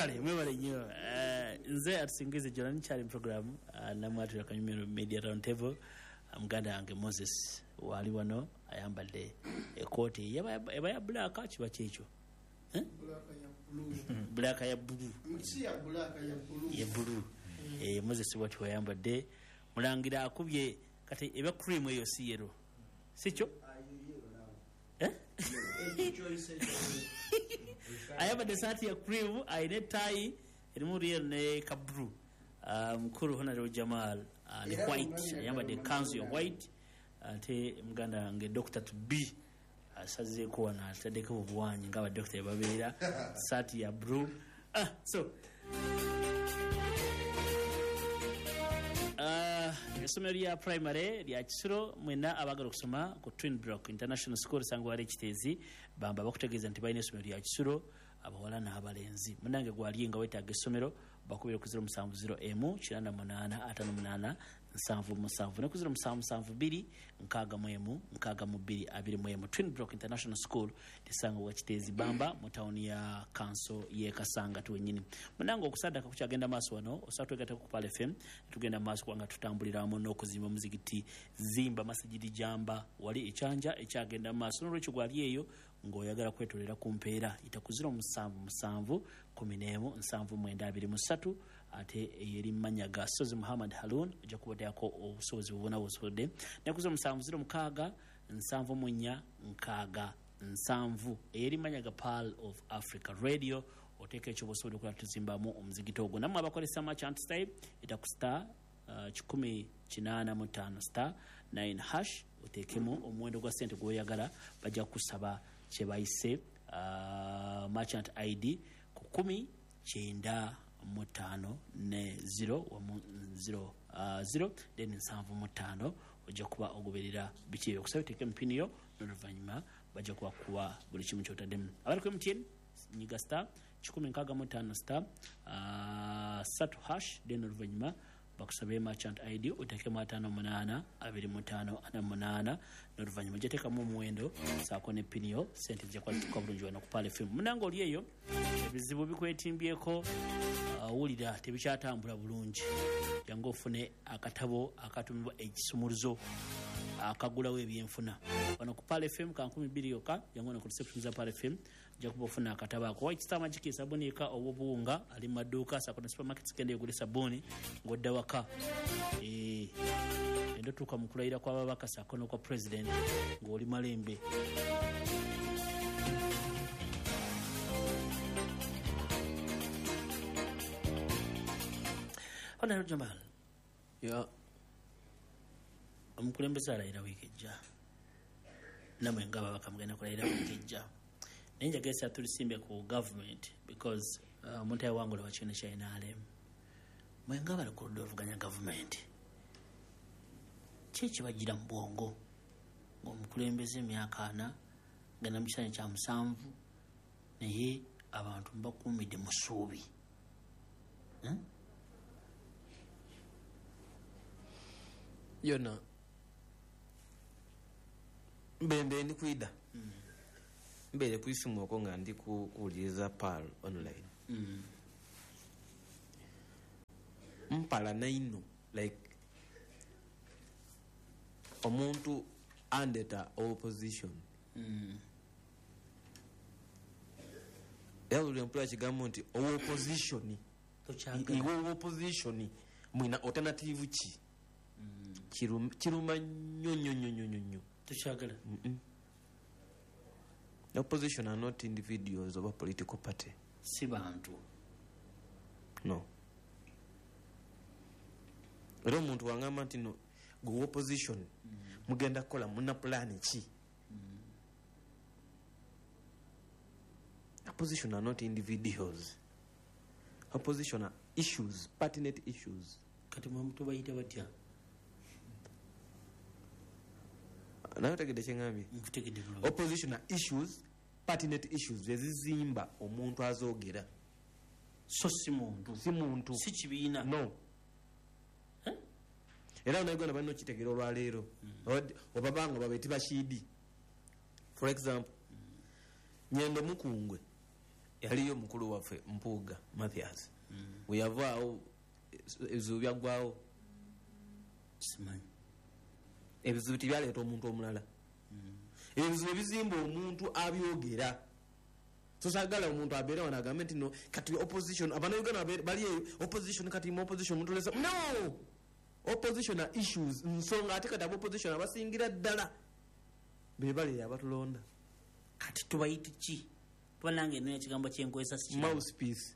Kale mwebale nnyo. Nze atusingize Jonan Chali program namwatira Kanyumiro Media Round Table. Muganda wange Moses wali wano ayambadde ekooti eba ya black, kiba kyekyo black ya blue, si ya black, ya blue, ya blue. Moses wati wayambadde mulangira akubye kati eba cream eyo si yellow, sikyo? Ayambadde saati ya cream, ayina etayi erimu real ne ka blue. Mukulu Honorable Jamal ali white, ayambadde kanzu ya white. Ate muganda wange Dr. to B asazeeko wano, ataddeko obuwanyi nga abadokita babeera, saati ya blue. So essomero lya primary lya Kisuro, mwena abagala okusoma ku Twin Block International School sangwa wali Kiteezi, bamba bakutegeeza nti balina essomero lya Kisuro abawala n'abalenzi. Munange gwali nga weetaaga essomero, bakubira ku 070 98 58 77 ne ku 0772 61 62 21. Twin Block International School lisangwa Kiteezi Bamba mu tawuni ya kanso y'e Kasanga tuwennyini. Munange okusaddaka kukyagenda maaso wano, osobola twegattako ku Pearl FM, tugenda maaso kubanga tutambulira wamu n'okuzimba omuzigiti Zimba Masijidi Jamba wali ekyanja ekyagenda maaso. N'olwekyo gwali eyo ng'oyagala kwetolera ku mpeera, yita ku 077 11 79 23, ate eri mmanya ga Sozi Muhammad Harun, ojja kubaddeyako obusobozi bubona busobodde. Ne ku 0706 74 6 7 eri mmanya ga Pearl of Africa Radio, oteeka ekyo busobodde okulaba tuzimbamu omuzigiti ogwo. Nammwe abakozesa merchant style, ita ku star 185 star 9 hash, oteekemu omuwendo gwa ssente gw'oyagala, bajja kukusaba kye bayise merchant ID ku 195 ne 0 wamu 0 0 then 75, ojja kuba ogoberera biki ebyo. Okusaba oteeke empini yo, n'oluvannyuma bajja kuba kuwa buli kimu ky'otaddemu. Abali ku MTN, nyiga star 165 star 3 hash, then oluvannyuma bakusabe merchant ID oteekemu 58 25 48, n'oluvannyuma ojja teekamu omuwendo saako ne pini yo, ssente zijja kuba zituuka bulungi wano ku Pearl FM. Munange oli eyo ebizibu bikwetimbyeko, owulira tebikyatambula bulungi, jangu ofune akatabo akatumibwa ekisumuluzo akagulawo ebyenfuna wano ku Pearl FM ka 2000 yokka. Jangu wano ku reception za Pearl FM, ojja kuba ofuna akatabo ako. White Star Magic sabuni eka ow'obuwunga ali mu maduuka saako ne supermarkets, genda egule sabuni ng'odda waka. Enda otuuka mu kulayira kw'ababaka saako n'okwa president ng'oli malembe. Honorable Jamal, ya omukulembeze alayira wiiki ejja, namwe nga ababaka mugenda kulayira wiiki ejja, naye njagala tulisimbe ku government because omuntu ayawangula wakibiina kya NRM. Mwe nga abali ku ludda oluvuganya gavumenti, ki ekibagira mu bwongo ng'omukulembeze emyaka 40 genda mu kisanja kya 7, naye abantu mubakuumidde mu ssuubi? Yona mbembe ndi kwida mbere kwisimu okwo nga ndi kuwuliriza Pearl online. Mpala naino like omuntu andeta opposition. Era buli mpula kigambo nti opposition, iwe opposition mwina alternative ki? Kiruma nnyo nnyo nnyo nnyo nnyo. Tokyagala. The opposition are not individuals of a political party. Si bantu. No. Era omuntu wangamba nti no gwe opposition mugenda kukola muna plan ki? Opposition are not individuals. Opposition are issues, pertinent issues. Kati mwe mutubayita batya? Naye otegedde kye ŋŋambye? Nkutegedde bulungi. Opposition are issues, pertinent issues ezizimba omuntu azoogera. So si muntu. Si muntu. Si kibiina. No. Era bannayuganda balina okitegeera olwaleero. Obabanga babe tibashiidi. For example, Nyendo Mukungwe Yaliyo mukulu waffe Mpuuga Mathias. Weyavaawo ebizibu byaggwawo. Simanyi. Ebizibu tibyaleeta omuntu omulala. Ebizibu ebizimba omuntu abyogera. So sagala omuntu abeere wano agambe nti no kati opposition, abannayuganda bali eyo opposition, kati mu opposition mutulesa. No, opposition are issues, nsonga. Ate kati aba opposition abasingira ddala be bali eyo abatulonda. Kati tubayite ki? Kuba nange nina ekigambo kyenkozesa si kirala. Mouthpiece.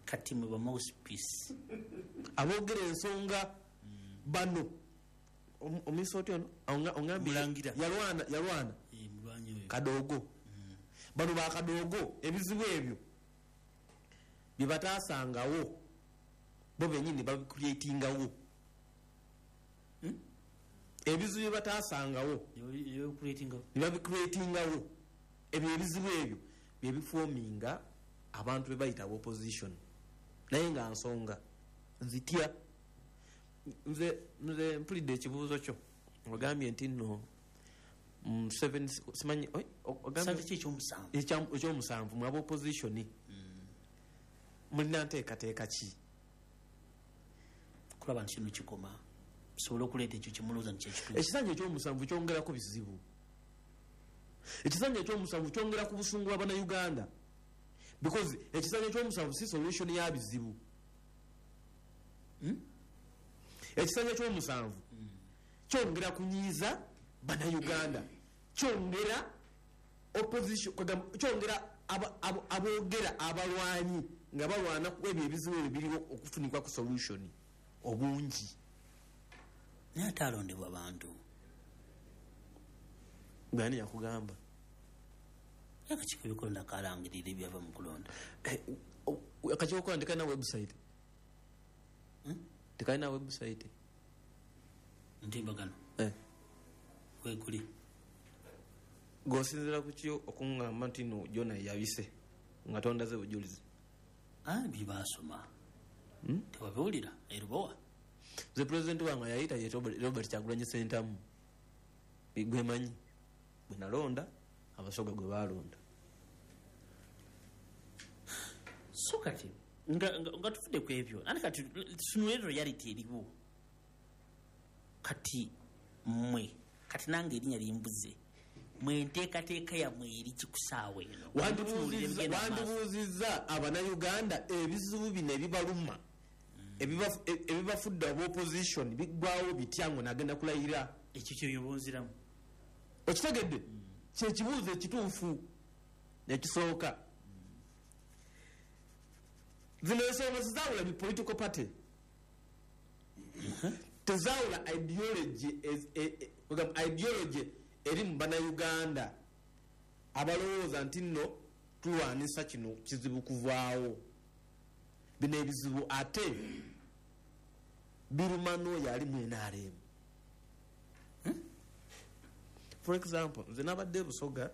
Kati mwe ba mouthpiece. Aboogera ensonga bano. Omuyisa otya ono? Ongambye Mulangira. Yalwana, yalwana. Mulwanyi oyo. Kadoogo. Bano bakadoogo ebizibu ebyo bye bataasangawo bo benyini babicreatingawo. Ebizibu bye bataasangawo Ebikuleetingawo. ne babicreatingawo. Ebyo ebizibu ebyo byebiforminga abantu be bayita opposition, naye nga nsonga zitya. Nze mpulidde ekibuuzo kyo, ogambye nti nno Museveni simanyi oi, ogambye Sante ki ekyomusanvu? Ekyomusanvu mu aba opposition mulina nteekateeka ki? Kulaba nti kino kikoma, tusobole okuleeta ekyo kyemulowooza nti kyekituufu. Ekisanja ekyomusanvu kyongerako bizibu. Ekisanja ekyomusanvu kyongera ku busungu bw'abannayuganda, because ekisanja ekyomusanvu si solution ya bizibu. Ekisanja ekyomusanvu kyongera kunyiiza bannayuganda, kyongera opposition, kwegamba kyongera aboogera abalwanyi nga balwana ku ebyo ebizibu ebyo biriwo okufunikwa ku solution obungi. Naye ate alondebwa bantu. Gani yakugamba? Akakiiko ebikulonda kalangirira ebyava mu kulonda. Akakiiko kola tekalina website? Tekalina website? Ntimbagano. Wekuli. Gosinzira ku ki okuŋŋamba nti no jona yabise nga tondaze bujulizi? Byebasoma tewabiwulira erubowa? Nze pulezidenti wange yayita ye Robert Kyagulanyi Sentamu, gwemanyi gwe nalonda, Abasoga gwe balonda. So kati nga tufudde ku ebyo, ate kati tutunule reality eriwo kati. Mmwe kati nange erinnya limbuze, mwe enteekateeka yammwe eri kikusaawa eno? Tutunuulire ebigenda mu maaso. Wandibuuzizza abannayuganda ebizibu bino ebibaluma, ebibafudde aba opposition biggwawo bitya ngo nagenda kulayira. Ekyo kyeyobonziramu. Okitegedde? Kyekibuuzo ekituufu ekisooka. Zino ensonga zizaawula bi political party, tezaawula ideology. Ogamba ideology eri mu bannayuganda abalowooza nti nno tulwanisa kino kizibu kuvaawo. Bino ebizibu ate biruma n'oyo ali mu NRM. For example, nze nabadde Busoga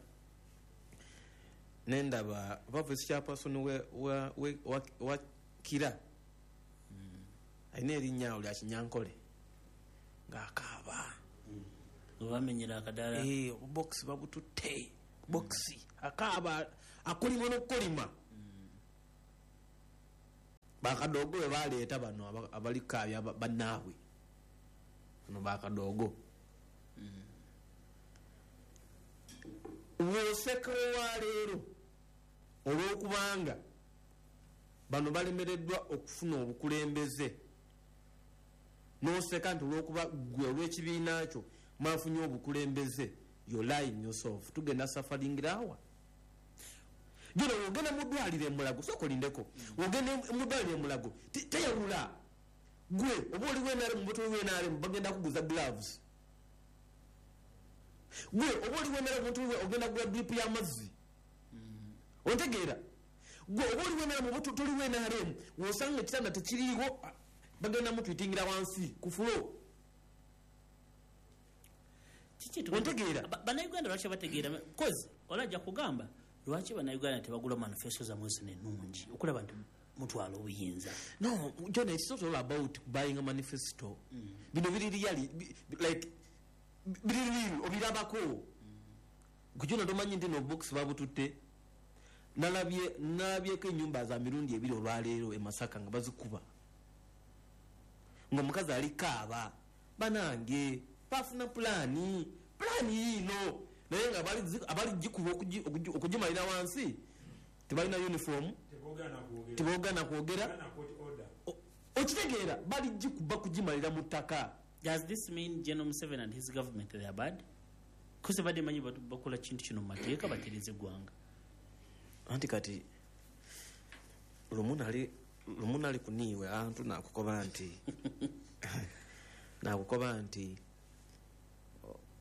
nendaba ba vice chairperson wa Kira, alina erinnya awo lya Kinyankole, ng'akaaba. Webamenyera akadaala. Obubokisi babututte, bokisi akaaba, akolima n'okukolima. Bakadoogo bwe baleeta bano abalikaabya bannaabwe bano bakadoogo. Woseka olwaleero olwokubanga bano balemereddwa okufuna obukulembeze, noseka nti olwokuba gwe olw'ekibiina kyo mwafunye obukulembeze, you lying yourself. Tugenda sufferingira jona. Wogenda mu ddwaliro emulago, sooka olindeko, wogenda mu ddwaliro emulago teyawula gwe oba oli w'NRM oba toli w'NRM, bagenda kuguza gloves. Gwe oba oli w'NRM oba toli, ogenda kugula drip y'amazzi. Ontegeera? Gwe oba oli w'NRM oba toli w'NRM, wosanga ekitanda tekiriiwo, bagenda mutwitingira wansi ku floor. Kiki Ontegeera? Bannayuganda lwaki bategeera? Cause olajja kugamba lwaki bannayuganda tebagula manifesto zammwe zino ennungi okulaba nti mutwala obuyinza? No, John, it's not all about buying a manifesto. Bino biri really, like biri real, obirabako. Kujona tomanyi nti no box babututte. Nalabyeko ennyumba za mirundi ebiri olwaleero e Masaka nga bazikuba, ng'omukazi ali kaaba. Banange, bafuna pulaani yiino, naye nga abali gikuba okugimalira wansi tebalina uniform, teboogana kwogera. Okitegeera, bali gikuba kugimalira mu ttaka. Does this mean General Museveni and his government, they are bad? Kuse badde manyi bakola kintu kino mu mateeka, batereze eggwanga. Anti kati lumu nali kuniiwe antu nakukoba nti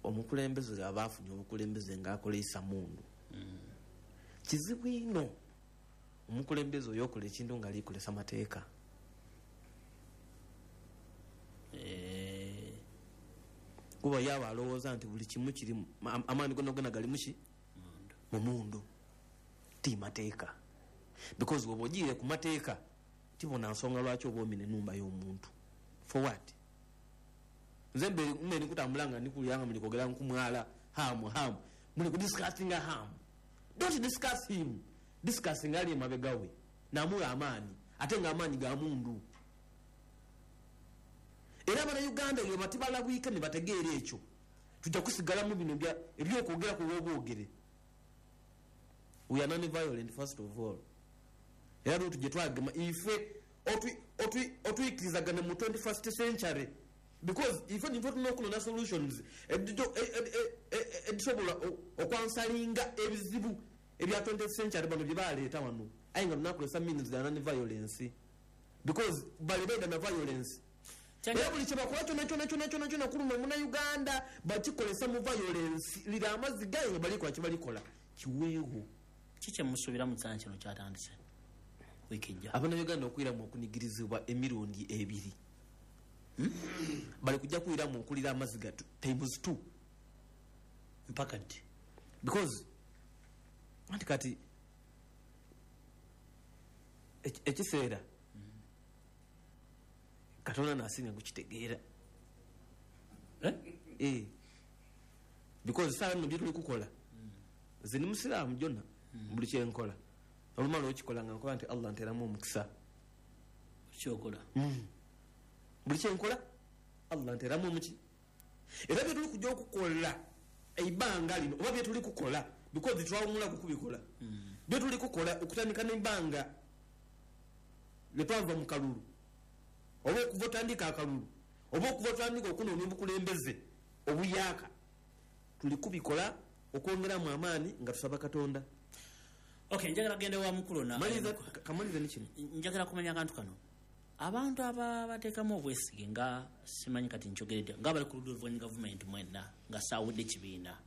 omukulembeze aba afunye obukulembeze ng'akola mundu. Kizibu ino omukulembeze oyo okola ekintu nga alikolesa mateeka. Kuba yaba alowooza nti buli kimu kiri amaanyi gonna gonna gali muki mu mundu, ti mateeka. Because bw'oba ogiire ku mateeka tibona nsonga lwaki oba omina ennumba y'omuntu. For what? Nze mbe nikutambula nga ndikulira nga mulikwogera nkumwala hamu hamu, muli kudiscussinga hamu. Don't discuss him, discussing ali emabega we namuwa amaanyi, ate nga amaanyi ga mundu. Era Abannayuganda bwe batibalabwika ne bategeera ekyo, tujja kusigalamu bino ebyokwogera ku lw'obwogere. We are non-violent first of all. Era lwe tujje twagema ife otwikirizagane mu 21st century, because ife nife tulina okunona solutions edisobola okwansalinga ebizibu ebya 20th century bano bye baleeta wano, aye nga tunakozesa means za non-violence, because bali baida na violence. Era buli kyebakola kyonna kyonna kyonna kyonna kyonna kuluma Munnayuganda bakikolesa mu violence. Lira amazzi gaye nga balikola kyebalikola kiweewo. Kiki kyemusuubira mu kiseera kino kyatandise wiiki ejja? Abannayuganda okwiramu okunigirizibwa emirundi ebiri. Bali kujja kwiramu okulira amazzi ga times 2. Mpaka ddi? Because anti kati ekiseera Katonda nasinga kukitegeera. Because saa nno bye tuli kukola, nze ndi musiraamu jonna, buli kyenkola olumala okikola nga nkola nti Allah nteramu omukisa. Kyokola buli kyenkola Allah nteramu omuki. Era bye tuli kujja okukola ebbanga lino oba bye tuli kukola, because twawumula kukubikola, bye tuli kukola okutandika n'ebbanga lye twava mu kalulu, oba okuva otandika akalulu, oba okuva otandika okunoonya obukulembeze obuyaaka, tuli kubikola okwongeramu amaanyi nga tusaba Katonda. Okay, njagala genda wa mukulu na kamaliza ni kino. Njagala kumanya akantu kano. Abantu abateekamu obwesige nga simanyi kati nkyogeredde nga bali ku ludda oluvuganya gavumenti mwenna nga saawudde kibiina,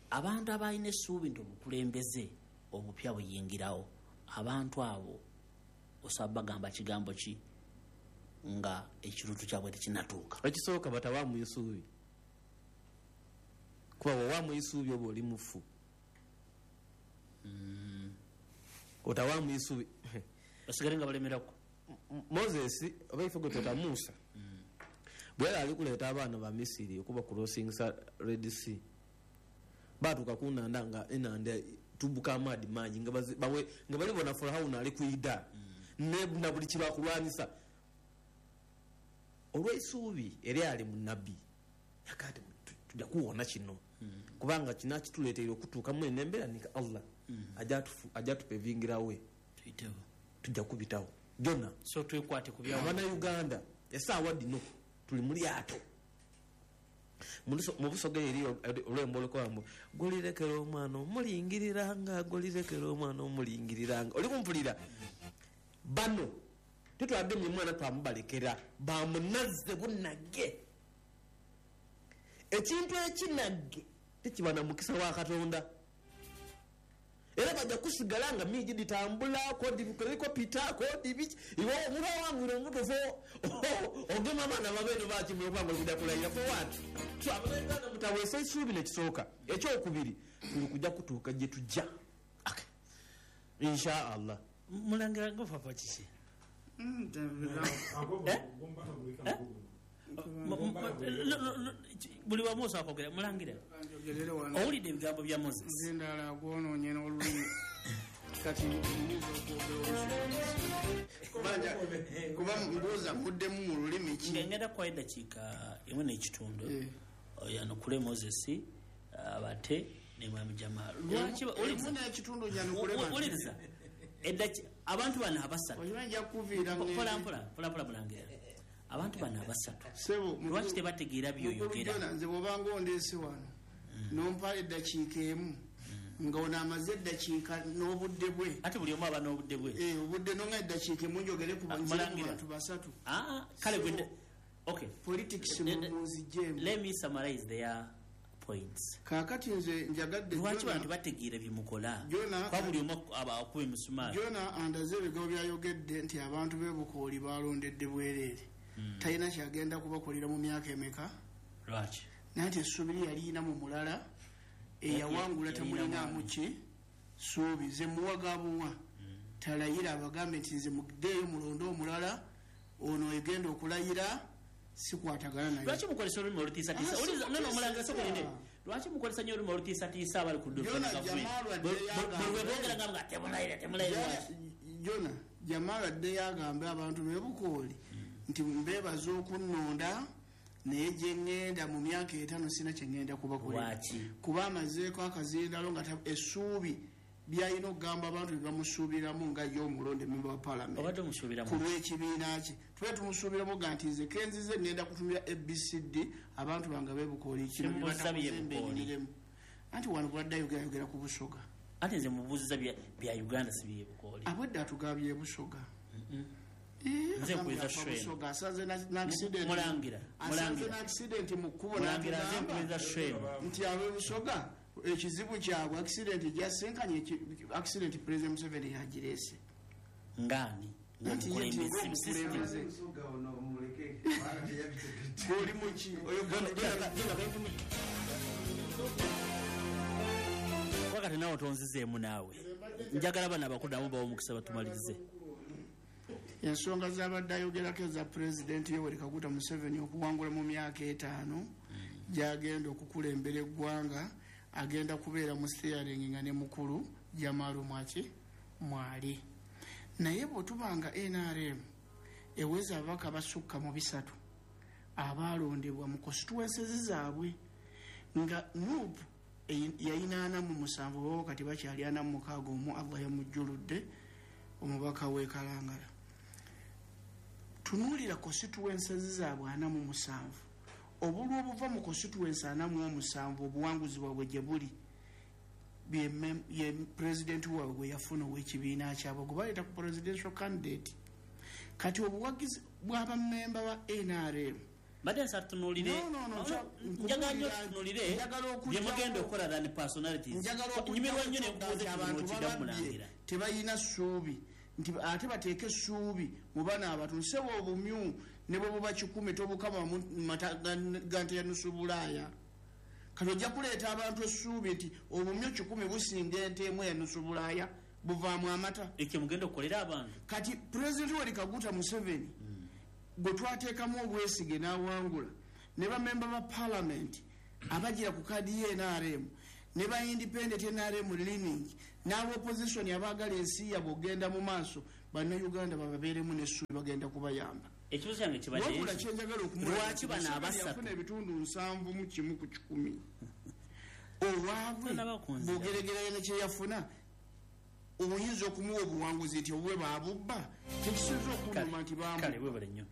abantu abalina essuubi nti obukulembeze obupya buyingirawo, abantu abo osaba bagamba kigambo ki nga ekirutu kyabwe tekinnatuuka? Ekisooka batawaamu isuubi, kuba bw'owaamu isuubi oba oli mufu. Otawaamu isuubi basigale nga balemerako. Moses oba ife gwe tweta Musa, bwe yali ali kuleeta abaana ba Misiri okuba crossingsa Red Sea, batuuka ku nnanda nga enanda tubuka amaadi mangi nga balibona Farao ali kwida na buli kibakulwanyisa. Olw'eisuubi eryali mu nabbi yakati tujja kuwona kino, kubanga kino kituleeteire okutuuka mu eno embeera nika Allah ajja tupevingirawe tujja kubitawo byonna. So twekwate ku bya Abannayuganda essaawa dino tuli mu lyato. Mu Busoga eri olwembo olukola gulirekera omwana omulingiriranga, gulirekera omwana omulingiriranga. Oli kumpulira? Bano tetwagemye mwana twamubalekera, bamunazze bunagge. Ekintu ekinagge tekiba na mukisa wa Katonda. Era bajja kusigala nga miji ditambula kodi pita kodi biki iwe omulwa wangu omutufu ogema abaana babeno bakimwe okubanga okujja kulayira for what? So Abannayuganda mutaweesa essuubi nekisooka. Ekyokubiri tuli kujja kutuuka gye tujja. Okay. Insha Allah. Mulangira gofapa kiki? Buli wamu osobola kwogera. Mulangira, owulidde ebigambo bya Moses? Nze ndala gwonoonye n'olulimi. Kati kuba mbuuza muddemu mu lulimi ki? Ngenda kuwa eddakiika emu n'ekitundu yanukule Moses abate ne Mwami Jamal. Lwaki owuliriza abantu bano abasatu? Mpola mpola mulangira. Abantu bano abasatu lwaki tebategeera byoyogera? Nze bw'obanga ondeese wano nompa eddakiika emu nga ono amaze eddakiika n'obudde bwe, ate buli omu aba n'obudde bwe, obudde nonga eddakiika emu njogere ku bantu basatu. Kale gwe okay, politics munzijjemu. Let me summarize their points. Kaakati nze njagadde lwaki bantu bategeera byemukola kwa buli omu akuba emisumaali. Jona andaze ebigambo byayogedde nti abantu b'e Bukooli balondedde bwereere, talina kyagenda kubakolera mu myaka emeka. Lwaki? Naye nti essuubi lye yaliyina mu mulala eyawangula temulinaamu ki ssuubi. Nze muwa gabuwa talayira, abagambe nti nze muddeeyo mulonde omulala ono egenda okulayira sikwatagana naye. Lwaki mukozesa olulimi olutiisatiisa? Omulangira sokolinde. Lwaki mukozesa nnyo olulimi olutiisatiisa abali ku dduboogera nga temulayira temulayira? Jona Jamal addeyo agambe abantu b'e Bukooli nti mbeebaza okunnonda, naye gye ŋŋenda mu myaka 5 sina kye ŋŋenda kubakolera, kuba amazeeko akazindalo nga essuubi byalina okugamba abantu bye bamusuubiramu nga ye omulonde memba wa paalamenti ku lw'ekibiina kye. Tube tumusuubiramu ga nti nze kenzize ŋŋenda kutumira ABCD abantu bange b'e Bukooli kino bye. Anti wano bwadde ayogerayogera ku Busoga. Ate nze mubuuziza bya Uganda si by'e Bukooli. Abwedde atugabye Busoga. Nze nkuweza Shwena. Mulangira. Asanze n'accident mu kkubo n'atugamba nti ab'e Busoga ekizibu kyabwe accident gyasinkanye, accident President Museveni yagireese. Ngani? Ng'omukulembeze. Oli muki? Wakati nawe tonzizeemu naawe. Njagala bano abakulu nabo bawe omukisa batumalirize. Ensonga z'abadde ayogerako eza Pulezidenti Yoweri Kaguta Museveni okuwangula mu myaka 5 gy'agenda okukulembera eggwanga, agenda kubeera mu steering nga ne mukulu Jamal Mwaki mwali. Naye bwe tubanga NRM eweza ababaka basukka mu 3 abaalondebwa mu constituencies zaabwe, nga NUP yayina 47 bo kati bakyali 46 omu Allah yamujjuludde omubaka w'e Kalangala. Tunuulira constituencies zaabwe 47, obulwa obuva mu constituency 47 obuwanguzi bwabwe gye buli ye pulezidenti waabwe gwe yafuna ow'ekibiina kyabwe gwe baleeta ku presidential candidate. Kati obuwagizi bw'abammemba ba NRM mbadde nsaba tunuulire, njagala nnyo tunuulire bye mugenda okukola than personalities. Nyumirwa nnyo ne nkubuuza abantu ekibuuzo bababye tebalina ssuubi nti ate bateeke essuubi mu bano abantu. Nsebo obumyu ne bwe buba 10 tobukama mu mata ga nte ya nusu Bulaaya. Kati ojja kuleeta abantu essuubi nti obumyu 10 businga ente emu ya nusu Bulaaya buvaamu amata. Ekyo mugenda okukolera abantu. Kati Pulezidenti Yoweri Kaguta Museveni gwe twateekamu obwesige n'awangula ne bamemba ba paalamenti abagira ku kaadi ye NRM ne ba independent NRM leaning n'aba opposition abaagala ensi yaabwe okugenda mu maaso, bannayuganda bababeeremu n'essuubi bagenda kubayamba. Ekibuuzo kyange kibadde wabula kyenjagala okumulaba lwaki bano abasatu yafuna ebitundu 71 ku 100 olwabwe bw'ogeregeranya ne kye yafuna oyinza okumuwa obuwanguzi nti obwe baabubba tekisinza okunuma nti Kale webale nnyo.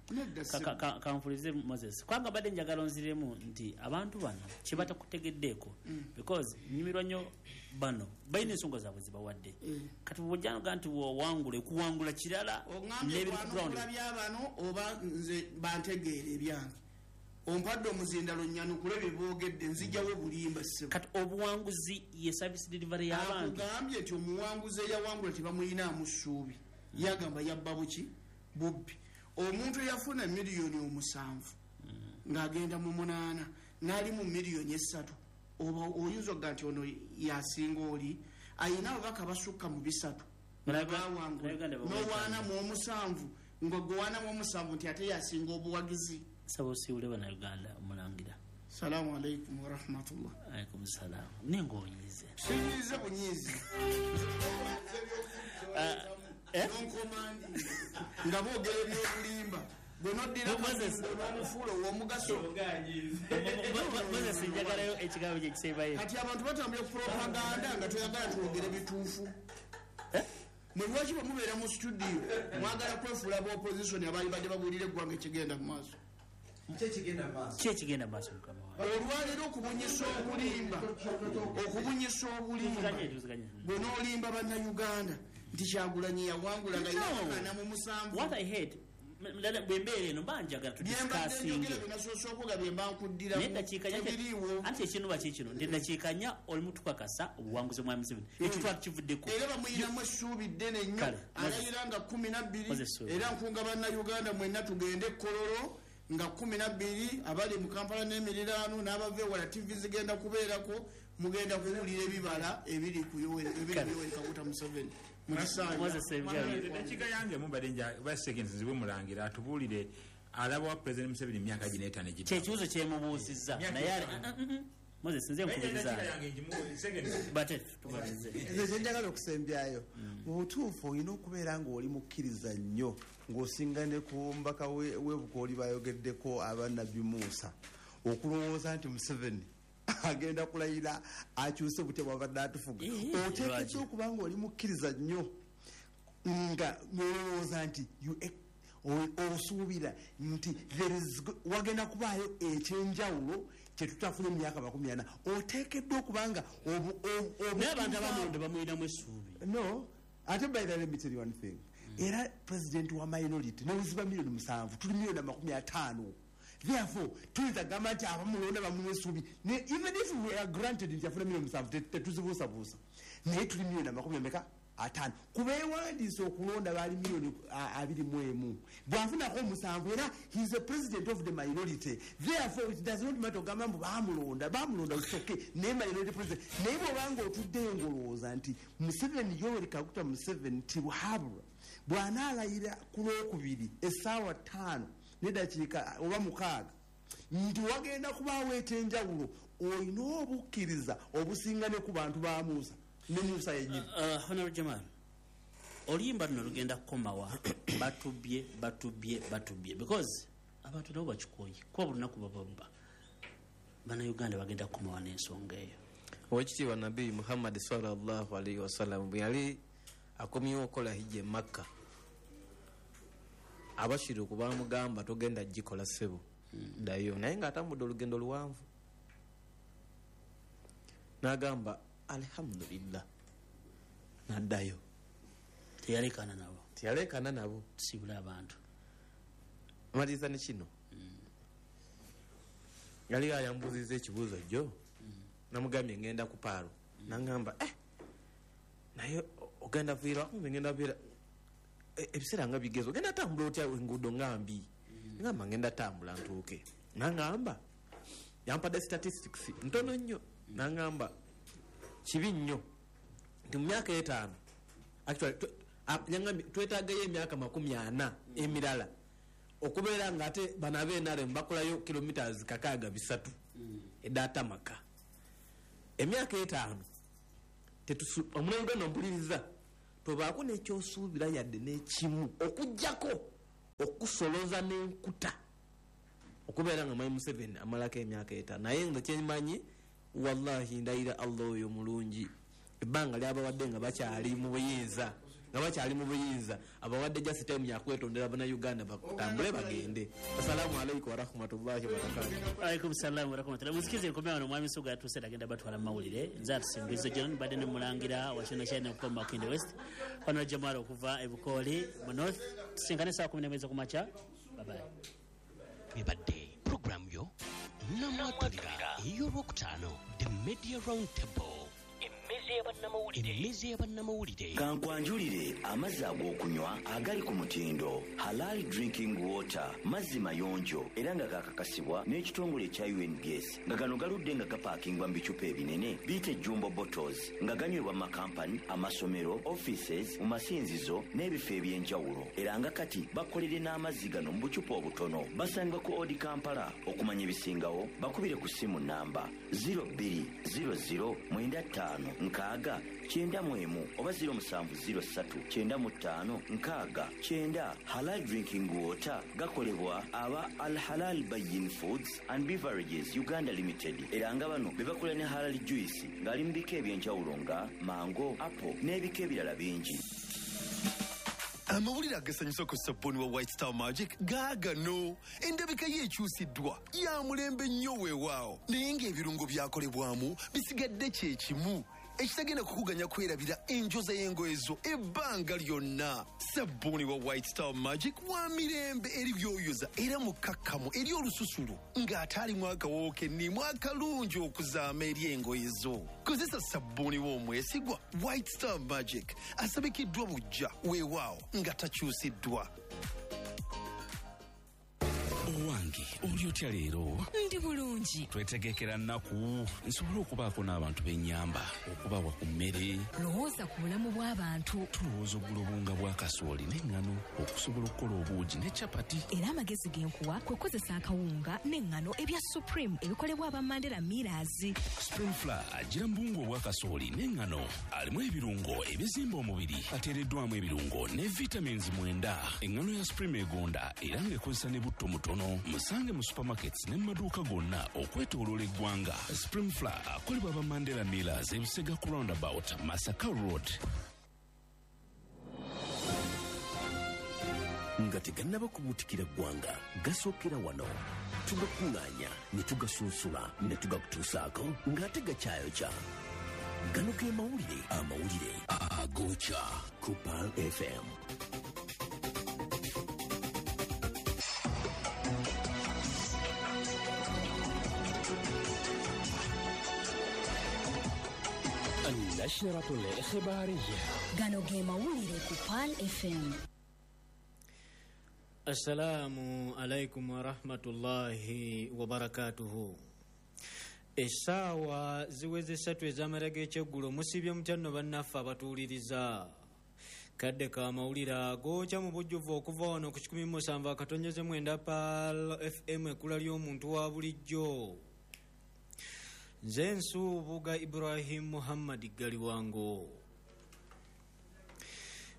Kanfulize Moses, kubanga badde njagala onziremu nti abantu bano kye batakutegeddeeko, because nyumirwa nnyo bano balina ensonga zaabwe zibawadde. Kati bw'ojja nti wawangula ekuwangula kirala n'ebiri ku ground. Ogambye byabano oba nze bantegeera ebyange, ompadde omuzindalo nnyanukule bye boogedde nzijjawo bulimba ssebo. Kati obuwanguzi ye service delivery y'abantu. Akugambye nti omuwanguzi eyawangula tebamuyinaamu ssuubi, yagamba yabba buki bubbi. Omuntu eyafuna miliyoni 7 ng'agenda mu 8 n'ali mu miliyoni 3, oba oyinza okuga nti ono yasinga oli ayina ababaka basukka mu 3 bawangula n'owaana mu 7 nga gwe waana mu 7 nti ate yasinga obuwagizi. Saba osiibule bannayuganda omulangira. Salaamu alaikum warahmatullah. Alaikum salaam. Ninga onyize. Sinyize bunyizi. Nonkomandi nga boogera ebyobulimba gwe noddira n'omufuula ow'omugaso. Moses, njagalayo ekigambo kye kisembayo. Kati abantu batambula ku propaganda nga toyagala twogere bituufu. Mwe lwaki bwe mubeera mu studio mwagala kwefuula ba opposition abaali badde babuulira eggwanga ekigenda mu maaso? Ki ekigenda mu maaso, mukama wange? Olwaleero okubunyisa obulimba, okubunyisa obulimba bwe n'olimba bannayuganda nti Kyagulanyi yawangula nga yina 47. What I hate, bwe mbeera eno mba njagala tudiscussinge. Nasoose okuga bye mba nkuddiramu tebiriiwo. Anti ekinuba ki kino nti eddakiika 4 olimu tukakasa obuwanguzi bwa Museveni, ekyo twali kivuddeko. Era bamuyinamu essuubi ddene nnyo, alayira nga 12. Era nkunga bannayuganda mwenna tugende Kololo nga 12, abali mu Kampala n'emiriraano n'abava ewala, TV zigenda kubeerako, mugenda kuwulira ebibala ebiri ku Yoweri Kaguta Museveni mu kisanja. Eddakiika yange mubadde ba seconds zibe mulangira atubuulire alaba wa President Museveni emyaka gino 5 egidda. Kyekibuuzo kyemubuuzizza naye Moses nze nkubiriza. Bate tumalirize. Nze kyenjagala okusembyayo mu butuufu olina okubeera ng'oli mukkiriza nnyo ng'osinga ne ku mbaka w'ebukooli bayogeddeko abannabbi Musa okulowooza nti Museveni agenda kulayira akyuse butya bwabadde atufuga. Oteekeddwa okuba ng'oli mukkiriza nnyo nga nolowooza nti osuubira nti wagenda kubaayo ekyenjawulo kyetutafuna emyaka 40. Oteekeddwa okubanga naye abantu abamulonda bamuyinamu essuubi. No, ate by the way, let me tell you one thing. Era president wa minority neweziba miliyoni 7 tuli miliyoni 50. Therefore tuyinza kugamba nti abamulonda bamuwa essuubi, even if we are granted nti afuna miliyoni 7 tetuzibuusabuusa, naye tuli miliyoni 50 kubeewandiisa okulonda baali miliyoni 21. Bw'afunako 7 era he is a president of the minority. Therefore it does not matter ogamba mbu bamulonda it's okay, naye minority president. Naye bw'obanga otuddeyo ng'olowooza nti Museveni Yoweri Kaguta Museveni Tibuhaburwa bw'anaalayira ku Lwokubiri essaawa 5 n'eddakiika oba 6 nti wagenda kubaawo ekyenjawulo, olina obukkiriza obusinga ne ku bantu ba Musa ne Musa yennyini. Honorable Jamal, oluyimba luno lugenda kukomawa? Batubye, batubye, batubye, because abantu nabo bakikooye kuba buli lunaku bababba. Bannayuganda bagenda kukomawa n'ensonga eyo. Owekitiibwa Nabbi Muhammad sallallahu alaihi wasallam bwe yali akomyewo okukola hijja e Makka, abashiriku bamugamba togenda gikola ssebo, ddayo, naye ng'atambudde olugendo luwanvu. N'agamba alhamdulillah, n'addayo. Teyalekana nabo. Teyalekana nabo. Tusibule abantu. Maliriza ne kino. Yali ayambuuzizza ekibuuzo jjo, namugambye ngenda ku Paalo. N'angamba naye ogenda viira, ngenda viira ebiseera nga bigezo, ogenda tambula otya enguudo nga mbi? Ngamba ngenda tambula ntuuke. N'angamba yampadde statistics ntono nnyo. N'angamba kibi nnyo nti mu myaka 5 actually yangambye twetaagayo emyaka 40 emirala okubeera nga ate bano ab'NRM bakolayo kilometers 603 edaatamaka. Emyaka 5 omunauganda ompuliriza tobaako n'ekyosuubira yadde n'ekimu okuggyako okusoloza n'enkuta okubeera nga Mwami Museveni amalako emyaka 5. Naye nga kyemanyi wallahi ndayira Allah oyo mulungi, ebbanga lyabawadde nga bakyali mu buyinza, abawadde just time yakwetondera bannayuganda batambule bagende. Assalamu alaikum warahmatullahi wabarakatuh. Alaikum salam warahmatullahi. Musikize nkomea wano mwami Suga yatuuse agenda batwala mawulire. Nze atusimbizo John badde ne mulangira wa China China okuva mu Makindye West, Honorable Jamal okuva e Bukooli mu North. Tusinkane saa 11 kumakya. Bye bye. Bibadde program yo namwatulira ey'olwokutaano, The Media Round Table, emmeza y'abannamawulire. Kankwanjulire amazzi ag'okunywa agali ku mutindo Halal Drinking Water, mazzi mayonjo era nga gakakasibwa n'ekitongole ekya UNBS, nga gano galudde nga gapaakingwa mu bicupa ebinene biyite jumbo bottles, nga ganywebwa mu makampani, amasomero, offices, mu masinzizo n'ebifo eby'enjawulo. Era nga kati bakolere n'amazzi gano mu bucupa obutono. Basangibwa ku Odi Kampala. Okumanya ebisingawo bakubire ku ssimu namba 0200 95 60 91 oba 0703 95 60 90. Halal Drinking Water gakolebwa aba Al Halal Bayin Foods and Beverages Uganda Limited, era nga bano be bakola ne Halal Juice ng'ali mu bika ebyenjawulo nga mango, apple n'ebika ebirala bingi. Amawulire agasanyusa ku sabbuuni wa White Star Magic gaagano. Endabika ye ekyusiddwa, ya mulembe nnyo weewaawo, naye ng'ebirungo byakolebwamu bisigadde kye kimu, ekitagenda kukuganya kwerabira enjoza y'engoye zo ebbanga lyonna. Sabbuuni wa White Star Magic wa mirembe eri byoyoza era mukkakkamu eri olususu lwo, ng'ate alimu akawoowo kennimu akalungi okuzaama eri engoye zo. Kozesa sabbuuni w'omwesigwa White Star Magic, asabikiddwa bujja weewaawo nga takyusiddwa. Owange, oli otya leero? Ndi bulungi. Twetegekera nnaku nsobole okubaako n'abantu b'ennyamba, okubawa ku mmere. Lowooza ku bulamu bw'abantu. Tulowooza ogula obuwunga bwa kasooli n'eŋŋano okusobola okukola obuugi ne capati. Era amagezi ge nkuwa kwe kukozesa akawunga n'eŋŋano ebya Supreme ebikolebwa aba Mandela Millers. Supreme Flour agira mu buwunga obwa kasooli n'eŋŋano, alimu ebirungo ebizimba omubiri, ateereddwamu ebirungo ne vitamins 9. Eŋŋano ya Supreme egonda era ng'ekozesa ne butto mutono. Musange mu supermarkets ne mu maduuka gonna okwetooloola eggwanga. Supreme Flour akolebwa aba Mandela Millers, Ebisega ku Roundabout, Masaka Road. Nga tegannaba kubuutikira ggwanga, gasookera wano. Tugakuŋŋaanya ne tugasunsula ne tugakutuusaako ng'ate gakyayokya. Gano ge mawulire, amawulire agookya ku Pearl FM. النشرة الإخبارية. Gano ge mawulire ku Pearl FM. Assalamu alaikum warahmatullahi wabarakatuhu. Essaawa ziweze 3 ez'amala g'ekyeggulo. Musibye mutya nno bannaffe abatuwuliriza? Kadde ka mawulire agookya mu bujjuvu okuva wano ku 107.9 Pearl FM, ekkula ly'omuntu wa bulijjo. Nze Nsuubuga Ibrahim Muhammad Galiwango.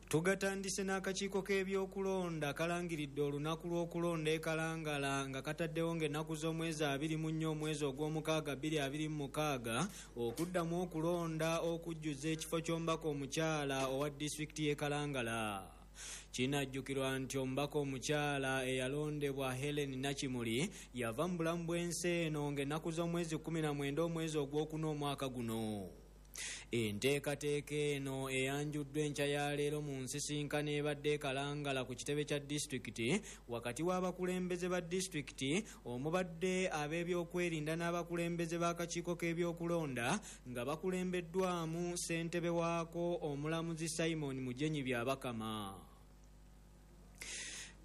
Tugatandise n'akakiiko k'ebyokulonda kalangiridde olunaku lw'okulonda e Kalangala nga kataddewo ng'ennaku z'omwezi 24 omwezi ogw'omukaaga 2026 okuddamu okulonda okujjuza ekifo ky'omubaka omukyala owa disitulikiti y'e Kalangala. Kinajjukirwa nti omubaka omukyala eyalondebwa Helen Nakimuli yava mu bulamu bw'ensi eno ng'ennaku z'omwezi 19 omwezi ogwokuna omwaka guno. Enteekateeka eno eyanjuddwa enkya ya leero mu nsisinkano ebadde e Kalangala ku kitebe kya disitulikiti wakati w'abakulembeze ba disitulikiti omubadde ab'ebyokwerinda n'abakulembeze b'akakiiko k'ebyokulonda nga bakulembeddwamu ssentebe waako omulamuzi Simon Mujenyi Byabakama.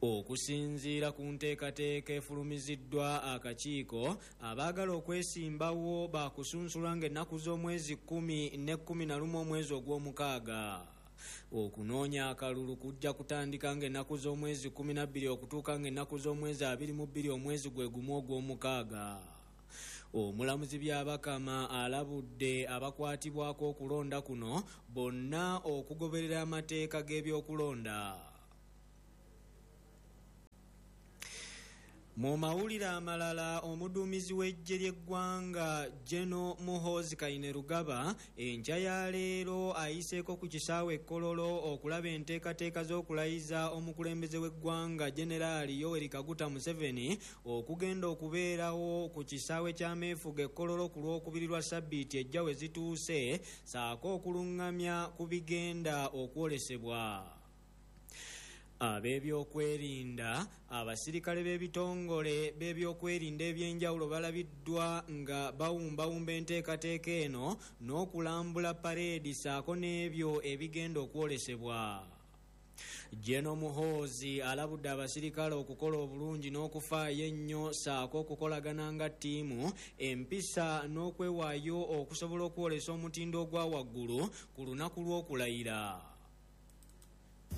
Okusinziira ku nteekateeka efulumiziddwa akakiiko, abaagala okwesimbawo bakusunsulwa ng'ennaku z'omwezi 10 ne 11 omwezi ogw'omukaaga. Okunoonya akalulu kujja kutandika ng'ennaku z'omwezi 12 okutuuka ng'ennaku z'omwezi 22 omwezi gwe gumu ogw'omukaaga. Omulamuzi Byabakama alabudde abakwatibwako okulonda kuno bonna okugoberera amateeka g'ebyokulonda. Mu mawulire amalala, omuduumizi w'eggye ly'eggwanga General Muhoozi Kainerugaba enkya ya leero ayiseeko ku kisaawe e Kololo okulaba enteekateeka z'okulayiza omukulembeze w'eggwanga Generaali Yoweri Kaguta Museveni okugenda okubeerawo ku kisaawe ky'ameefuga e Kololo ku Lwokubiri lwa sabbiiti ejja we zituuse, ssaako okuluŋŋamya ku bigenda okwolesebwa. Ab'ebyokwerinda, abasirikale b'ebitongole b'ebyokwerinda ebyenjawulo balabiddwa nga bawumbawumba enteekateeka eno n'okulambula pareedi ssaako n'ebyo ebigenda okwolesebwa. General Muhoozi alabudde abasirikale okukola obulungi n'okufaayo ennyo ssaako okukolagana nga ttiimu, empisa n'okwewaayo okusobola okwolesa omutindo ogwa waggulu ku lunaku lw'okulayira.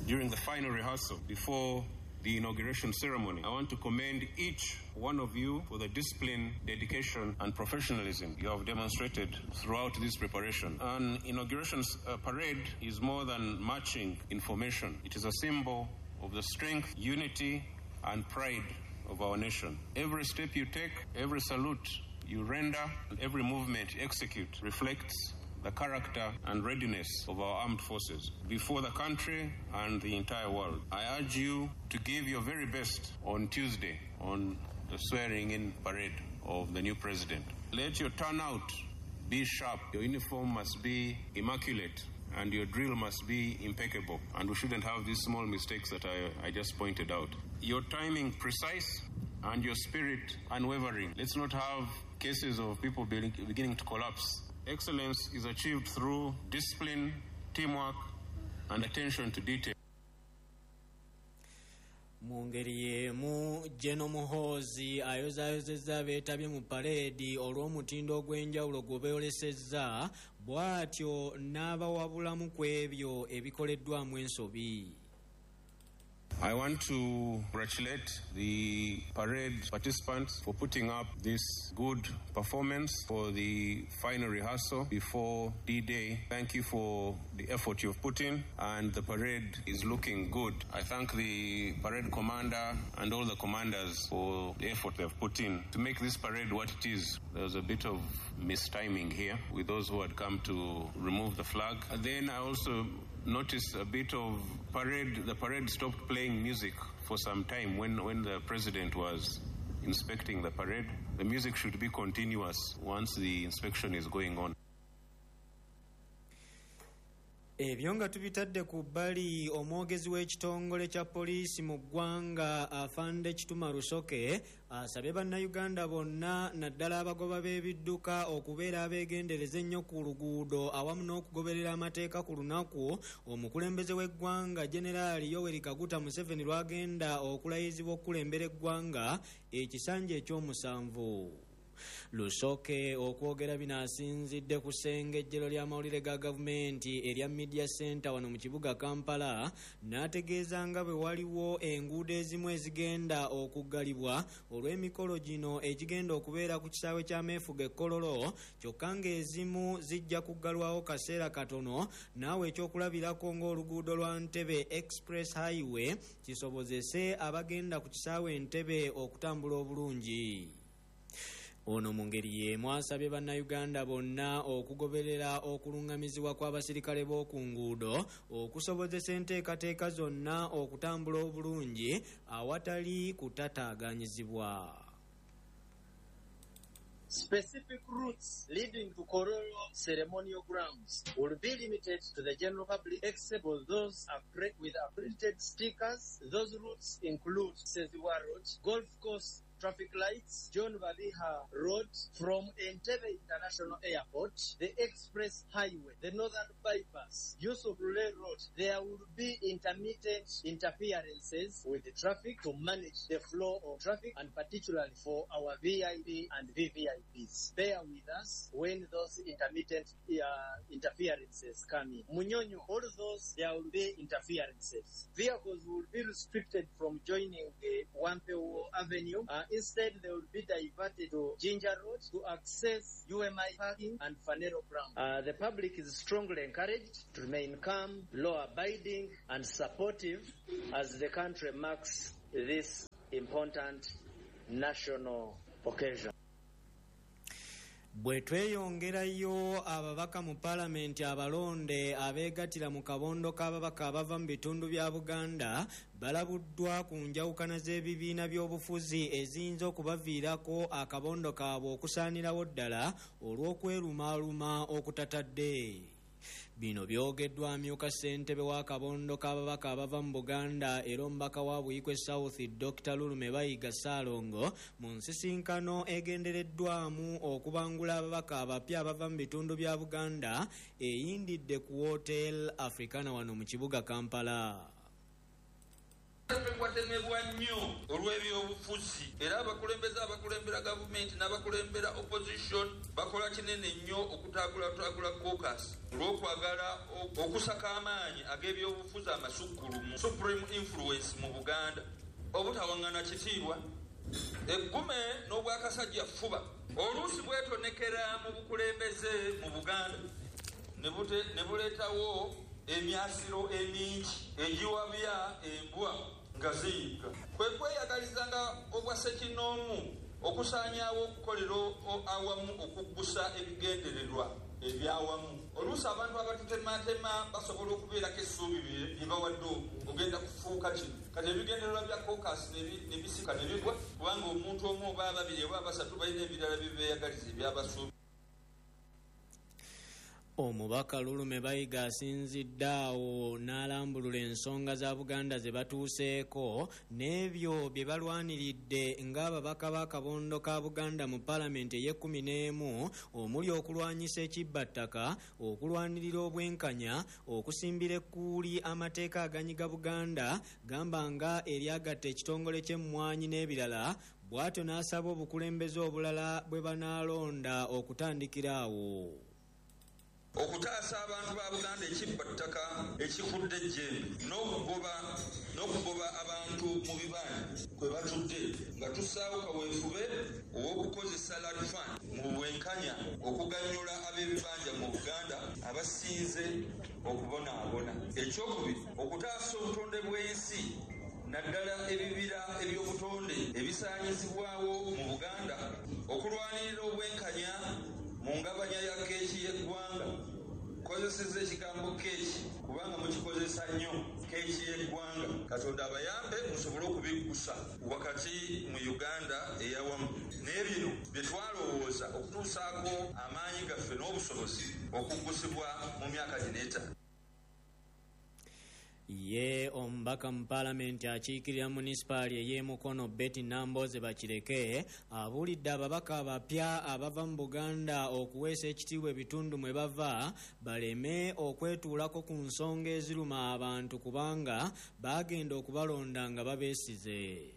During the final rehearsal, before the inauguration ceremony. I want to commend each one of you for the discipline, dedication, and professionalism you have demonstrated throughout this preparation. An inauguration parade is more than marching in formation. It is a symbol of the strength, unity, and pride of our nation. Every step you take, every salute you render, and every movement you execute reflects the character and readiness of our armed forces before the country and the entire world. I urge you to give your very best on Tuesday on the swearing-in parade of the new president. Let your turnout be sharp. Your uniform must be immaculate and your drill must be impeccable. And we shouldn't have these small mistakes that I just pointed out. Your timing precise and your spirit unwavering. Let's not have cases of people beginning to collapse. Excellence is achieved through discipline, teamwork, and attention to detail. Mu ngeri y'emu, General Muhoozi ayozaayozezza abeetabye mu paleedi olw'omutindo ogw'enjawulo gwe beeyolesezza, bw'atyo n'abawabulamu ku ebyo ebikoleddwamu ensobi. I want to congratulate the parade participants for putting up this good performance for the final rehearsal before D-Day. Thank you for the effort you've put in, and the parade is looking good. I thank the parade commander and all the commanders for the effort they've put in to make this parade what it is. There was a bit of mistiming here with those who had come to remove the flag. And then I also noticed a bit of parade. The parade stopped playing music for some time when the president was inspecting the parade. The music should be continuous once the inspection is going on. Ebyo nga tubitadde ku bbali, omwogezi w'ekitongole kya poliisi mu ggwanga Afande Kituma Rusoke asabye bannayuganda bonna naddala abagoba b'ebidduka okubeera abeegendereza ennyo ku luguudo awamu n'okugoberera amateeka ku lunaku omukulembeze w'eggwanga Generaali Yoweri Kaguta Museveni lw'agenda okulayizibwa okukulembera eggwanga ekisanja ekyomusanvu. Lusoke okwogera bino asinzidde ku ssengejjero ly'amawulire ga gavumenti erya Media Center wano mu kibuga Kampala, n'ategeeza nga bwe waliwo enguudo ezimu ezigenda okuggalibwa olw'emikolo gino egigenda okubeera ku kisaawe ky'ameefuga e Kololo, kyokka ng'ezimu zijja kuggalwawo kaseera katono, naawe ekyokulabirako ng'oluguudo lwa Ntebe Express Highway kisobozese abagenda ku kisaawe Entebbe okutambula obulungi. Ono mu ngeri y'emu asabye bannayuganda bonna okugoberera okuluŋŋamizibwa kw'abasirikale b'oku nguudo okusobozesa enteekateeka zonna okutambula obulungi awatali kutataaganyizibwa. Specific routes leading to Kololo ceremonial grounds will be limited to the general public except for those with accredited stickers. Those routes include Seziwa Road, Golf Course Traffic Lights, John Babiha Road from Entebbe International Airport, the Express Highway, the Northern Bypass, Yusuf Lule Road. There will be intermittent interferences with the traffic to manage the flow of traffic, and particularly for our VIP and VVIPs. Bear with us when those intermittent interferences come in. Munyonyo, all those, there will be interferences. Vehicles will be restricted from joining the Wampewo Avenue. Instead, they will be diverted to Ginger Road to access UMI parking and Fanero Ground. The public is strongly encouraged to remain calm, law-abiding, and supportive as the country marks this important national occasion. Bwe tweyongerayo, ababaka mu paalamenti abalonde abeegattira mu kabondo k'ababaka abava mu bitundu bya Buganda balabuddwa ku njawukana z'ebibiina by'obufuzi eziyinza okubaviirako akabondo kaabwe okusaanirawo ddala olw'okwerumaaluma okutatadde. Bino byogeddwa amyuka ssentebe w'akabondo k'ababaka abava mu Buganda era omubaka wa Buikwe South Dr. Lulume Bayiga Ssaalongo mu nsisinkano egendereddwamu okubangula ababaka abapya abava mu bitundu bya Buganda eyindidde ku Hotel Africana wano mu kibuga Kampala. Watemebwa nnyo olw'ebyobufuzi, era abakulembeze abakulembera gavumenti n'abakulembera opposition bakola kinene nnyo okutaagulataagula caucus olw'okwagala okusaka amaanyi ag'ebyobufuzi amasukkulumu, supreme influence mu Buganda. Obutawaŋŋana kitiibwa, eggume n'obwakasajja ffuba oluusi bwetonekera mu bukulembeze mu Buganda ne buleetawo emyasiro emingi egiwabya embwa nga ziyigga. Kwe kweyagalizanga obwa ssekinnoomu okusaanyaawo okukolera awamu okuggusa ebigendererwa ebyawamu. Oluusi abantu abatutematema basobola okubeerako essuubi bye bawadde ogenda kufuuka kino. Kati ebigendererwa bya caucus ne bisika ne bigwa kubanga omuntu omu oba ababiri oba abasatu balina ebirala bye beeyagaliza ebyabasuubi. Omubaka Lulume Bayiga asinzidde awo n'alambulula ensonga za Buganda ze batuuseeko n'ebyo bye balwaniridde ng'ababaka b'akabondo ka Buganda mu Paalamenti ey'e11 omuli okulwanyisa ekibbattaka, okulwanirira obwenkanya, okusimbira ekkuuli amateeka aganyiga Buganda gamba nga eryagatta ekitongole ky'emmwanyi n'ebirala, bw'atyo n'asaba obukulembeze obulala bwe banaalonda okutandikira awo. Okutaasa abantu ba Buganda ekibbattaka ekikudde ejjembe n'okugoba abantu mu bibanja kwe batudde nga tussaawo kaweefube ow'okukozesa Land Fund mu bwenkanya okuganyula ab'ebibanja mu Buganda abasinze okubonaabona. Ekyokubiri, okutaasa obutonde bw'ensi naddala ebibira eby'obutonde ebisaanyizibwawo mu Buganda, okulwanirira obwenkanya mu ngabanya ya keeki y'eggwanga. Kozesezza ekigambo keeki kubanga mukikozesa nnyo, keeki y'eggwanga. Katonda abayambe musobole okubiggusa wakati mu Uganda eyawamu. Naye bino bye twalowooza okutuusaako amaanyi gaffe n'obusobozi okuggusibwa mu myaka gino etaano. Ye omubaka mu Paalamenti akiikirira munisipaali ey'e Mukono Betty Nambooze Bakireke abuulidde ababaka abapya abava mu Buganda okuweesa ekitiibwa ebitundu mwe bava baleme okwetuulako ku nsonga eziruma abantu kubanga baagenda okubalonda nga babeesize.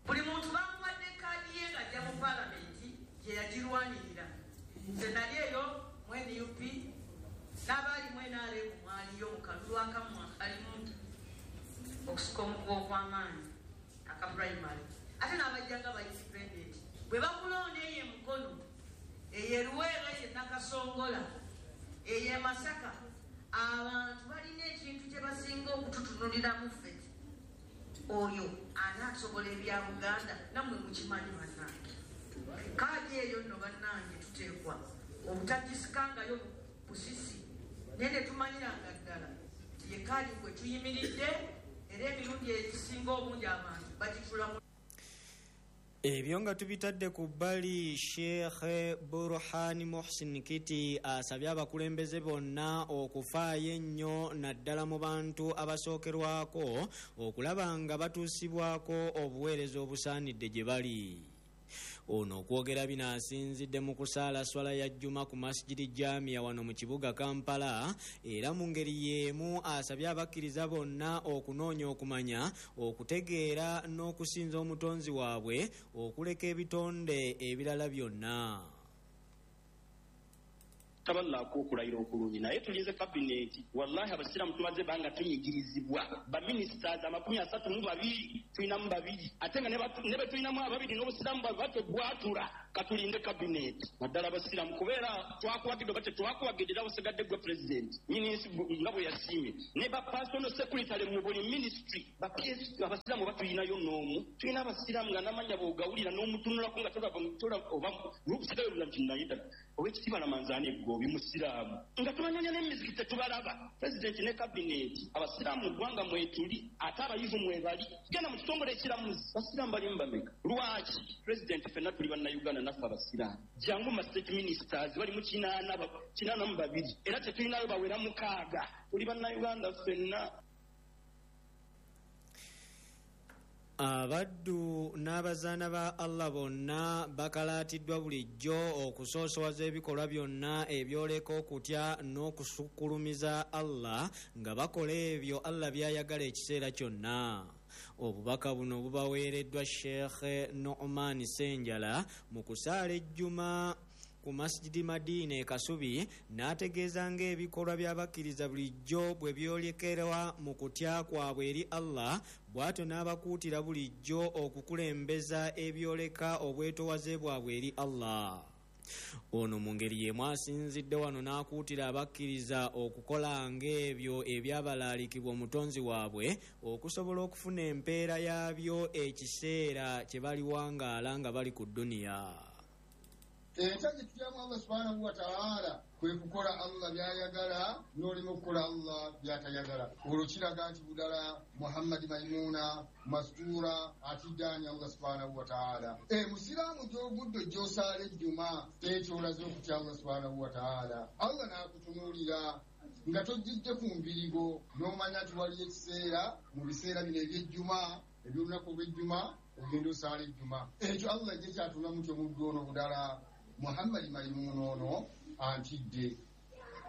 Buli muntu bamuwadde kaadi ye ng'ajja mu Paalamenti gye yagirwanirira. Nze nali eyo mu NUP n'abaali mu NRM mwaliyo mu kalulu akamu akalimu okusika omuguwa okw'amaanyi aka primary, ate n'abajja nga ba independent. Bwe bakulonda eyo e Mukono, eyo e Luweero, eyo e Nakasongola, eyo e Masaka, abantu balina ekintu kye basinga okututunuliramu ffe. Oyo anaasobola ebya Buganda nammwe mukimanyi bannange. Kaadi eyo nno bannange tuteekwa obutagisikangayo busisi, naye ne tumanyiranga ddala nti ye kaadi kwe tuyimiridde era emirundi egisinga obungi abantu bagitulamu. Ebyo nga tubitadde ku bbali, Sheikh Burhan Muhsin Kiti asabye abakulembeze bonna okufaayo ennyo naddala mu bantu abasookerwako okulaba nga batuusibwako obuweereza obusaanidde gye bali. Ono okwogera bino asinzidde mu kusaala swala ya Juma ku Masjidi Jamia wano mu kibuga Kampala, era mu ngeri y'emu asabye abakkiriza bonna okunoonya okumanya, okutegeera n'okusinza omutonzi waabwe okuleka ebitonde ebirala byonna. Taballaako okulayira okulungi naye tulinze kabineti. Wallahi abasiraamu tumaze ebbanga tunyigirizibwa. Ba ministers 32 tulinamu babiri, ate nga ne be tulinamu ababiri n'obusiraamu bwabwe batebwatula. Katulinde kabineti naddala abasiraamu, kubeera twakuwagidde oba tetwakuwagidde, era busigadde gwe president nyini nsi nga bwe yasiimye. Ne ba personal secretary mu buli ministry, ba PS, abasiraamu oba tulinayo n'omu? Tulina abasiraamu nga n'amannya bw'ogawulira n'omutunulako nga tolaba oba lusigayo lula nti naye ddala owekitiibwa Lamanzaani Eggoobi musiraamu, nga tubanoonya n'emizikiti tetubalaba. Pulezidenti ne kabineti, abasiraamu mu ggwanga mwetuli, ate abayivu mwebali. Genda mu kitongole ekiramuzi, basiraamu balimu bameka? Lwaki pulezidenti, ffenna tuli bannayuganda naffe abasiraamu. Jangu ma state ministers bali mu 82, era tetulinayo bawera 6. Tuli bannayuganda ffenna. Abaddu n'abazaana ba Allah bonna bakalaatiddwa bulijjo okusoosowaza ebikolwa byonna ebyoleka okutya n'okusukkulumiza Allah nga bakola ebyo Allah by'ayagala ekiseera kyonna. Obubaka buno bubaweereddwa Sheikh Nu'man Ssenjala mu kusaala ejjuma ku Masjidi Madina e Kasubi n'ategeeza ng'ebikolwa by'abakkiriza bulijjo bwe byolekerwa mu kutya kwabwe eri Allah, bw'atyo n'abakuutira bulijjo okukulembeza ebyoleka obwetowaze bwabwe eri Allah. Ono mu ngeri y'emu asinzidde wano n'akuutira abakkiriza okukola ng'ebyo ebyabalaalikibwa omutonzi waabwe okusobola okufuna empeera yaabyo ekiseera kye baliwangaala nga bali ku dduniya. Enkya gye tutyamu Allah subhanahu wa ta'ala kwe kukola Allah by'ayagala n'olema okukola Allah by'atayagala. Olwo kiraga nti budala Muhammadi Maimuna Mastura atiddaani Allah subhanahu wa ta'ala. Musiraamu gy'ogudde gy'osaala ejjuma ekyo olaze okutya Allah subhanahu wa ta'ala. Allah n'akutunuulira nga tojjidde ku mbirigo n'omanya nti waliyo ekiseera mu biseera bino eby'ejjuma eby'olunaku olw'ejjuma ogenda osaala ejjuma. Ekyo Allah gye kyatula mutyo muddu ono budala Muhammadi Maimuna ono antidde.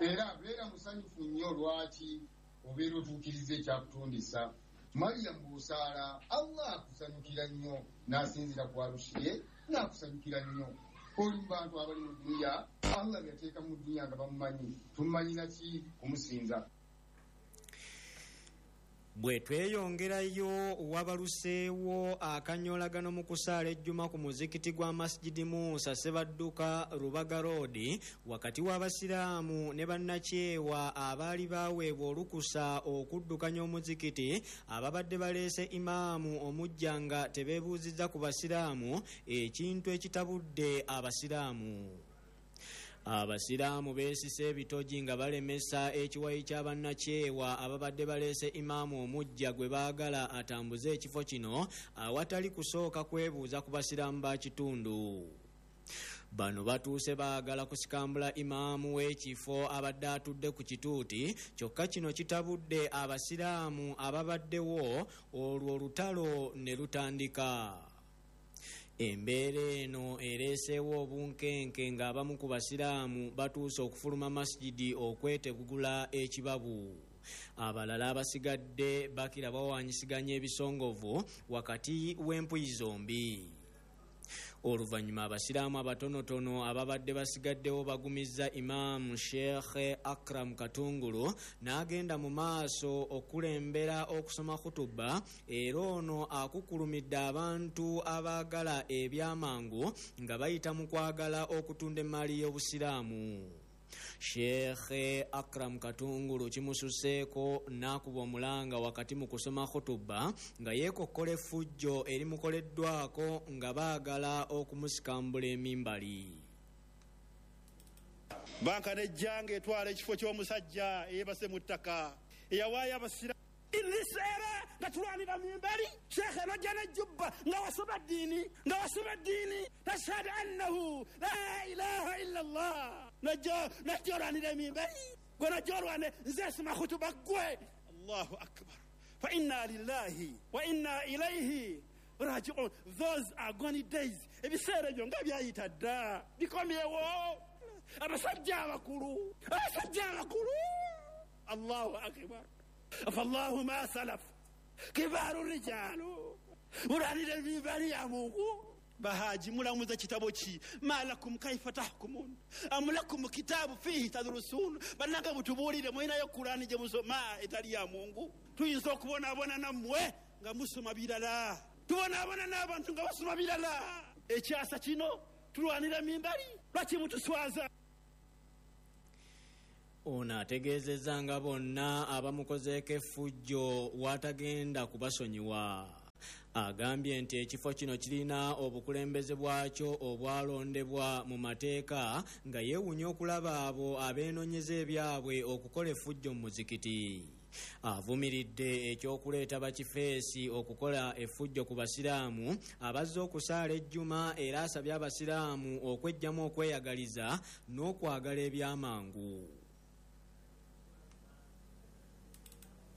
Era beera musanyufu nnyo lwaki obeera otuukiriza ekyakutondesa. Mariyamu bw'osaala Allah akusanyukira nnyo n'asinziira ku arushi ye n'akusanyukira nnyo. Oli mu bantu abali mu dduniya Allah yateeka mu dduniya nga bamumanyi, tumumanyi naki kumusinza. Bwe tweyongerayo wabaluseewo akanyolagano mu kusaala ejjuma ku muzikiti gwa Masjidi Musa Ssebadduka Rubaga Road wakati w'abasiraamu ne bannakyewa abaali baweebwa olukusa okuddukanya omuzikiti ababadde baleese imaamu omujja nga tebeebuuzizza ku basiraamu, ekintu ekitabudde abasiraamu. Abasiraamu beesise ebitogi nga balemesa ekiwayi ky'abannakyewa ababadde baleese imaamu omujja gwe baagala atambuze ekifo kino awatali kusooka kwebuuza ku basiraamu ba kitundu. Bano batuuse baagala kusikambula imaamu w'ekifo abadde atudde ku kituuti, kyokka kino kitabudde abasiraamu ababaddewo olwo olutalo ne lutandika. Embeera eno ereeseewo obunkenke ng'abamu ku basiraamu batuuse okufuluma masjidi okwetegula ekibabu. Abalala abasigadde bakira bawaanyisiganya ebisongovu wakati w'empuyi zombi. Oluvannyuma abasiraamu abatonotono ababadde basigaddewo bagumizza Imaamu Sheikh Akram Katungulu n'agenda mu maaso okulembera okusoma khutuba, era ono akukulumidde abantu abaagala ebyamangu nga bayita mu kwagala okutunda emmali y'obusiraamu. Sheikh Akram Katungulu kimususeeko n'akuba omulanga wakati mu kusoma khutuba nga yeekokkola effujjo erimukoleddwako nga baagala okumusikambula emimbali. Banka nejjanga etwala ekifo ky'omusajja eyeebase mu ttaka eyawaayo abasiraamu. In this era nga tulwanira mimbali, Sheikh nojja nejjubba nga wasoma ddiini, nga wasoma ddiini, tashhadu annahu la ilaha illa Allah. Najja olwanira emimbali, gwe najja olwane nze soma khutuba ggwe. Allahu akbar. Fa inna lillahi wa inna ilayhi raji'un. Those are gone days. Ebiseera ebyo nga byayita dda, bikomyewo. Abasajja abakulu, abasajja abakulu. Allahu akbar. Fallahu ma salaf kibaru rijalu mulwanira emimbali ya Mungu. Bahaji mulamuza kitabo ki malakum kaifa tahkumun am lakum kitabu fihi tadrusun. Bannange mutubuulire mulinayo Kurani gye musoma etali ya Mungu. Tuyinza okubonaabona nammwe nga musoma birala, tubonaabona n'abantu nga basoma birala. Ekyasa kino tulwanira mimbali, lwaki mutuswaza? Ono ategeezezza nga bonna abamukozeeko effujjo w'atagenda kubasonyiwa. Agambye nti ekifo kino kirina obukulembeze bwakyo obwalondebwa mu mateeka nga yeewuunya okulaba abo abeenonyeza ebyabwe okukola effujjo mu muzikiti. Avumiridde ekyokuleeta bakifeesi okukola effujjo ku basiraamu abazze okusaala ejjuma, era asabye abasiraamu okweggyamu okweyagaliza n'okwagala ebyamangu.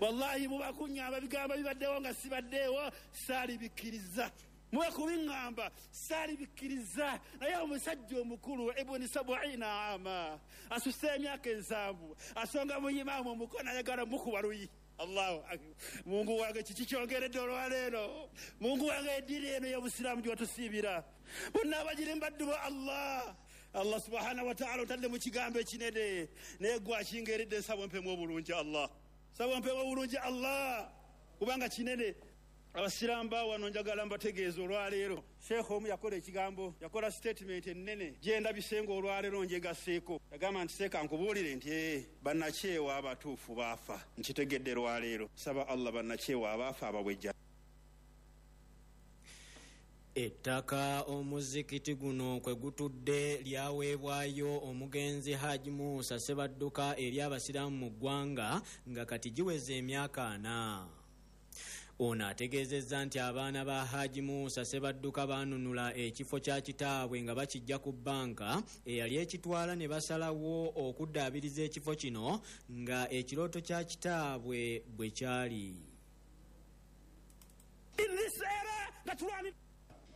Wallahi muba kuŋŋamba bigambo bibaddewo nga sibaddeewo saalibikkiriza. Muba kubiŋŋamba saalibikkiriza. Naye omusajja omukulu Ibuni 70 ama asuse emyaka 70 asonga mu imaamu omukono ayagala mukuba luyi. Allahu akbar. Mungu wange kiki kyongeredde olwaleero? Mungu wange eddiini eno y'obusiraamu gy'otusiibira bonna abagiri mbaddu ba Allah. Allah subhanahu wataala otadde mu kigambo ekinene, naye gwe akingeredde. Nsaba ompemu obulungi Allah, saba ompemu obulungi Allah, kubanga kinene. Abasiraamu bawano njagala mbategeeza olwaleero, sheekha omu yakola ekigambo, yakola statement ennene gyendabise nga olwaleero njegaseeko. Yagamba nti seeka nkubuulire nti bannakyewa abatuufu baafa. Nkitegedde lwaleero. Saba Allah bannakyewa abaafa abawejja. Ettaka omuzikiti guno kwe gutudde lyaweebwayo omugenzi Haji Musa Sebadduka eri abasiraamu mu ggwanga nga kati giweze emyaka 40. Ono ategeezezza nti abaana ba Haji Musa Sebadduka baanunula ekifo kya kitaabwe nga bakijja ku bbanka eyali ekitwala, ne basalawo okuddaabiriza ekifo kino nga ekirooto kya kitaabwe bwe kyali. In this era nga tulwani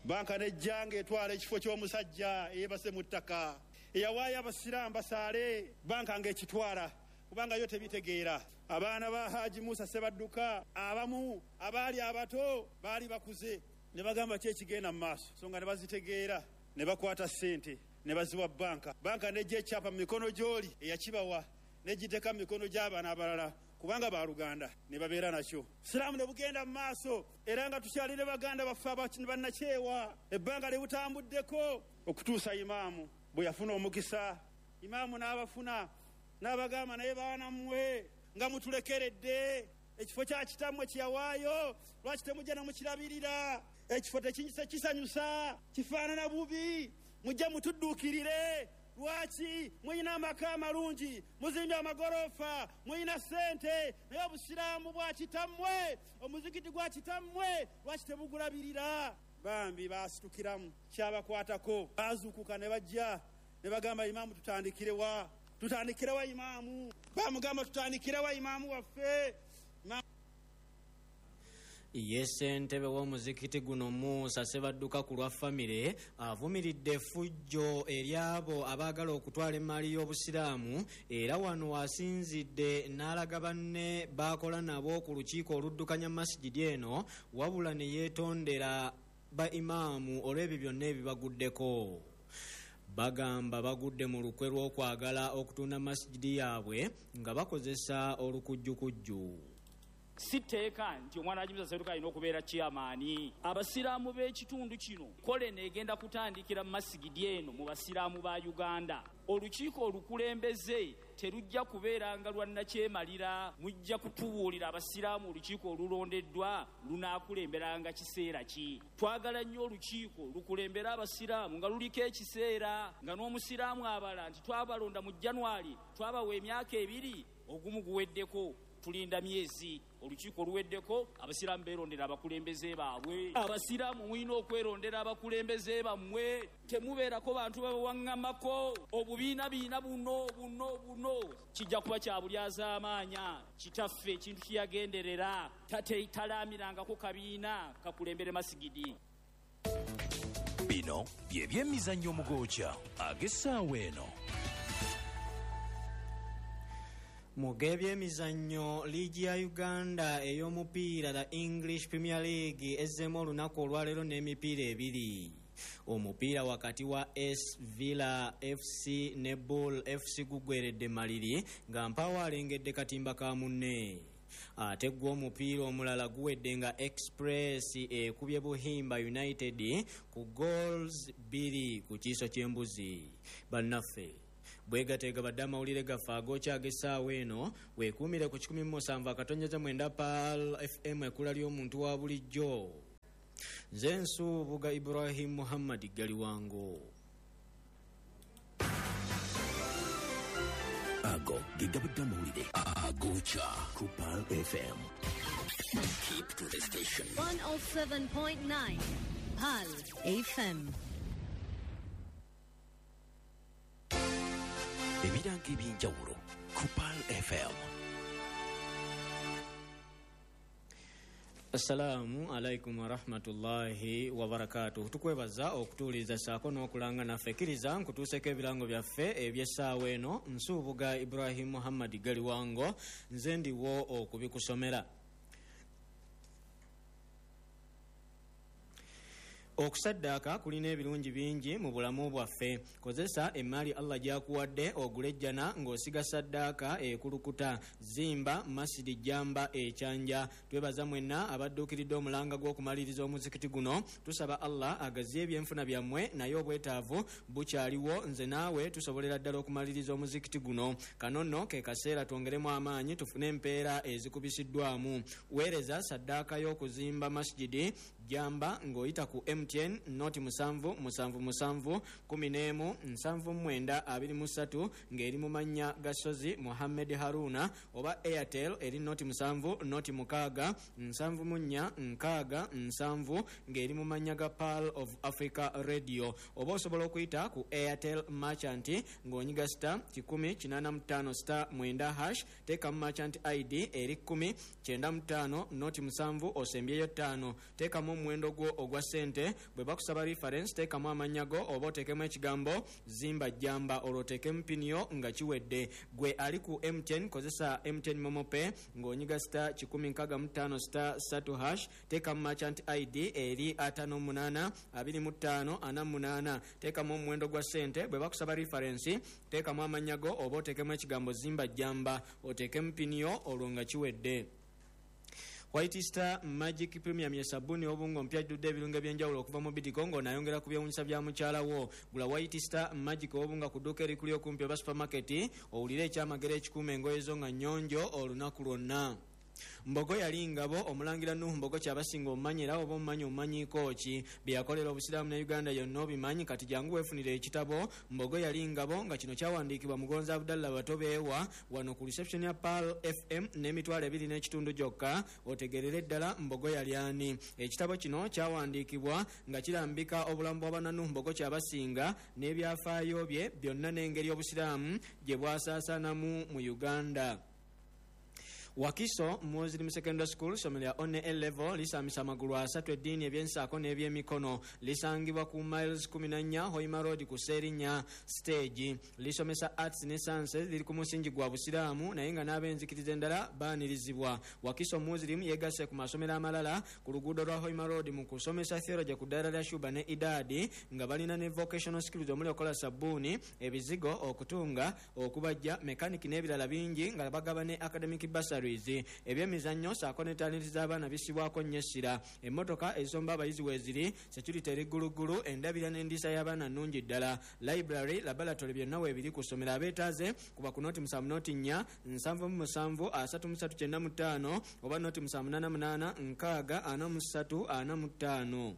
banka nejjanga etwala ekifo ky'omusajja eyebase mu ttaka eyawaayo abasiraamu basaale, banka ng'ekitwala kubanga yo tebitegeera. Abaana ba Haji Musa Sebadduka abamu abaali abato baali bakuze, ne bagamba ki ekigenda mu maaso, so nga ne bazitegeera, ne bakwata ssente ne baziwa banka. Banka nejja ekyapa mu mikono gy'oli eyakibawa, negiteeka mu mikono gy'abaana abalala kubanga baluganda, ne babeera nakyo. Siraamu ne bugenda mu maaso, era nga tukyalire baganda baffe bannakyewa ebbanga lye butambuddeko okutuusa imaamu bwe yafuna omukisa. Imaamu n'abafuna n'abagamba, naye baana mmwe nga mutulekeredde ekifo kya kitammwe kyeyawaayo, lwaki temujja nemukirabirira? Ekifo tekisanyusa, kifaanana bubi, mujje mutudduukirire. Lwaki muyina amaka amalungi, muzimbye amagorofa, muyina ssente, naye obusiraamu bwa kitammwe, omuzikiti gwa kitammwe, lwaki temugulabirira? Bambi baasitukiramu, kyabakwatako, baazuukuka ne bajja ne bagamba imaamu, tutandikirewa, tutandikirewa imaamu? Bamugamba, tutandikirewa imaamu waffe? Ye ssentebe w'omuzikiti guno Musa Sebadduka ku lwa famire avumiridde effujjo eri abo abaagala okutwala emaali y'obusiraamu, era wano asinzidde n'alaga banne baakola nabo ku lukiiko oluddukanya masigidi eno, wabula ne yeetondera ba imaamu olw'ebyo byonna ebibaguddeko. Bagamba bagudde mu lukwe lw'okwagala okutunda masigidi yaabwe nga bakozesa olukujjukujju. Si tteeka nti omwana wa Musa Sebadduka alina okubeera chairman. Abasiraamu b'ekitundu kino kole neegenda kutandikira mu masigidi eno mu basiraamu ba Uganda. Olukiiko olukulembeze terujja kubeeranga lwa nnakyemalira, mujja kutubuulira abasiraamu olukiiko olulondeddwa lunaakulemberanga kiseera ki. Twagala nnyo olukiiko lukulembere abasiraamu nga luliko ekiseera, nga n'omusiraamu abala nti twabalonda mu January, twabawa emyaka 2, ogumu guweddeko, tulinda myezi. Olukiiko oluweddeko abasiraamu beerondera abakulembeze baabwe. Abasiraamu mulina okwerondera abakulembeze bammwe, temubeerako bantu babawaŋŋamako obubiinabiina buno buno buno. Kijja kuba kya bulyazaamaanya. Kitaffe ekintu kiyagenderera talaamirangako kabiina kakulembere masigidi. Bino bye byemizannyo omugokya ag'essaawa eno. Mu g'ebyemizannyo, liigi ya Uganda ey'omupiira the English Premier League ezzeemu olunaku olwaleero n'emipiira 2. Omupiira wakati wa S Villa FC ne Bull FC gugweredde maliri nga mpaawo alengedde katimba ka munne. Ate gwo omupiira omulala guwedde nga Express ekubye Buhimba United ku goals 2 ku kiiso ky'embuzi. Bannaffe bwegateega badde amawulire gaffe agokya ag'essaawa eno, weekuumire ku 107.9 Pearl FM, ekkula ly'omuntu wa bulijjo. Nze Nsubuga Ibrahim Muhammad Galiwango. Ago ge gabadde amawulire agokya ku Pearl FM. Keep to the station. 107.9 Pearl FM. Ebirango ebyenjawulo ku Pearl FM. Assalamu alaikum warahmatullahi wabarakatuh. Tukwebaza okutuuliza saako n'okulanga naffe. Kkiriza nkutuuseko ebirango byaffe eby'essaawa eno. Nsubuga Ibrahim Muhammad Galiwango, nze ndiwo okubikusomera. Okusaddaaka kulina ebirungi bingi mu bulamu bwaffe. Kozesa emmaali Allah gy'akuwadde ogule ejjana ng'osiga saddaaka ekulukuta. Zimba Masidi Jamba ekyanja. Twebaza mwenna abadduukiridde omulanga gw'okumaliriza omuzikiti guno. Tusaba Allah agaziye ebyenfuna byammwe, naye obwetaavu bukyaliwo. Nze naawe tusobolera ddala okumaliriza omuzikiti guno. Kano nno ke kaseera twongeremu amaanyi tufune empeera ezikubisiddwamu. Weereza saddaaka y'okuzimba Masjidi Jamba ng'oyita ku MTN noti 7 7 7 11 79 23 ng'eri mu mannya ga Sozi Muhammed Haruna, oba Airtel eri noti 7 noti 6 74 67 ng'eri mu mannya ga Pearl of Africa Radio, oba osobola okuyita ku Airtel Merchant ng'onyiga star 185 star 9 hash, teekamu Merchant ID eri 10 95 noti 7 osembyeyo 5, teekamu omuwendo gwo ogwa ssente. Bwe bakusaba reference teekamu amannya go oba oteekemu ekigambo Zimba Jamba, olwo oteekemu piniyo nga kiwedde. Gwe ali ku MTN kozesa MTN Momo Pay ng'onyiga star 165 star 3 hash, teekamu Merchant ID eri 58 25 48, teekamu omuwendo gwa ssente. Bwe bakusaba reference teekamu amannya go oba oteekemu ekigambo Zimba Jamba, oteekemu piniyo olwo nga kiwedde. White Star Magic Premium ye sabuni obungo mpya jjudde ebirungo ebyenjawulo okuva mu Bidiko ng'onayongera ku byewunyisa bya mukyala wo. Gula White Star Magic obunga ku dduuka erikuli okumpi oba supermarket, owulire ekyamagero ekikuuma engoye zo nga nnyonjo olunaku lwonna. Mbogo yali ngabo omulangira Nuhu Mbogo kyabasinga omumanyi, era oba omumanyi omumanyiiko ki bye yakolera obusiraamu ne Uganda yonna obimanyi. Kati jangu weefunire ekitabo Mbogo yali ngabo, nga kino kyawandiikibwa Mugonzi Abdallah Batobeewa wano ku reception ya Pearl FM n'emitwalo 2.5 gyokka, otegerere ddala Mbogo yali ani. Ekitabo kino kyawandiikibwa nga kirambika obulamu bwa bana Nuhu Mbogo kyabasinga n'ebyafaayo bye byonna n'engeri obusiraamu gye bwasaasaanamu mu Uganda. Wakiso Muslim Secondary School ssomero lya one A level lisamisa amagulu asatu eddiini, ebyensaako n'ebyemikono. Lisangibwa ku miles 14 Hoima Road ku Seerinya stage. Lisomesa arts ne sciences, liri ku musingi gwa busiraamu naye nga n'ab'enzikiriza endala baanirizibwa. Wakiso Muslim yegasse ku masomero amalala ku luguudo lwa Hoima Road mu kusomesa theology ku ddaala lya Shuba ne Idadi, nga balina ne vocational skills omuli okukola sabbuuni, ebizigo, okutunga, okubajja, mechanic n'ebirala bingi, nga bagaba ne academic bursary. Ebyemizannyo saako ne talenti z'abaana bisibwako nnyo essira. Emmotoka ezisomba abayizi weeziri, security eri gguluggulu, endabira n'endiisa y'abaana nnungi ddala. Library, laboratory byonna weebiri ku ssomero. Abeetaaze kuba ku noti 7 noti 4 77 33 95 oba noti 7 88 6 43 45.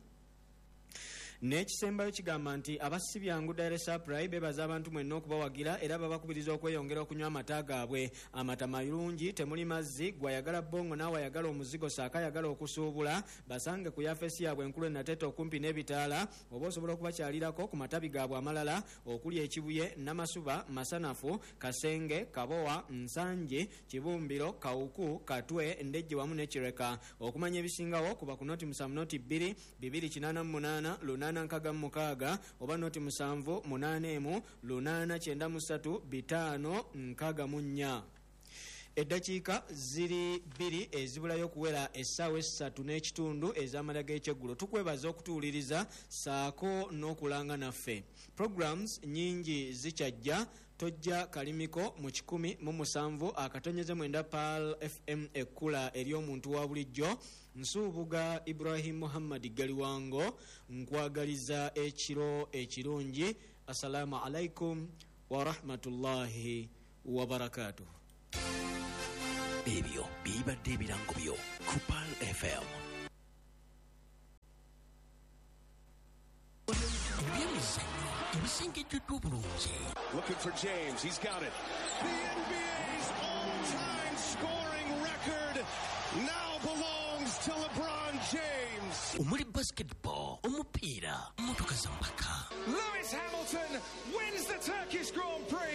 N'ekisembayo kigamba nti abasibyangu Dairy Supply bebaza abantu mwenna okubawagira, era babakubiriza okweyongera okunywa amata gaabwe. Amata malungi, temuli mazzi. Gwayagala bongo naawe ayagala omuzigo saako ayagala okusuubula, basange ku yafesi yaabwe enkulu enateeta okumpi n'ebitaala, oba osobola okubakyalirako ku matabi gaabwe amalala okuli Ekibuye, Namasuba, Masanafu, Kasenge, Kabowa, Nsangi, Kibumbiro, Kawuku, Katwe, Ndejje wamu ne Kireka. Okumanya ebisingawo kuba ku noti 7 noti 2 288 866 oba noti 7 8 1 893 5 64. Eddakiika ziri 2 ezibulayo okuwera essaawa 3:30 ez'amala g'ekyeggulo. Tukwebaza okutuwuliriza saako n'okulanga naffe. Programs nnyingi zikyajja. Tojja kalimiko mu 107.9 Pearl FM ekkula ery'omuntu wa bulijjo. Nsuubuga Ibrahim Muhammad Galiwango, nkwagaliza ekiro ekirungi. Assalamu alaikum wa rahmatullahi wa barakatuh. Ebyo bibadde ebirango byo ku Pearl FM. Ebyemizannyo ebisengejjeddwa obulungi. Looking for James, he's got it. The NBA's all-time scoring record now belongs to LeBron James. Omuli basketball, omupiira, mmotoka za mpaka. Lewis Hamilton wins the Turkish Grand Prix.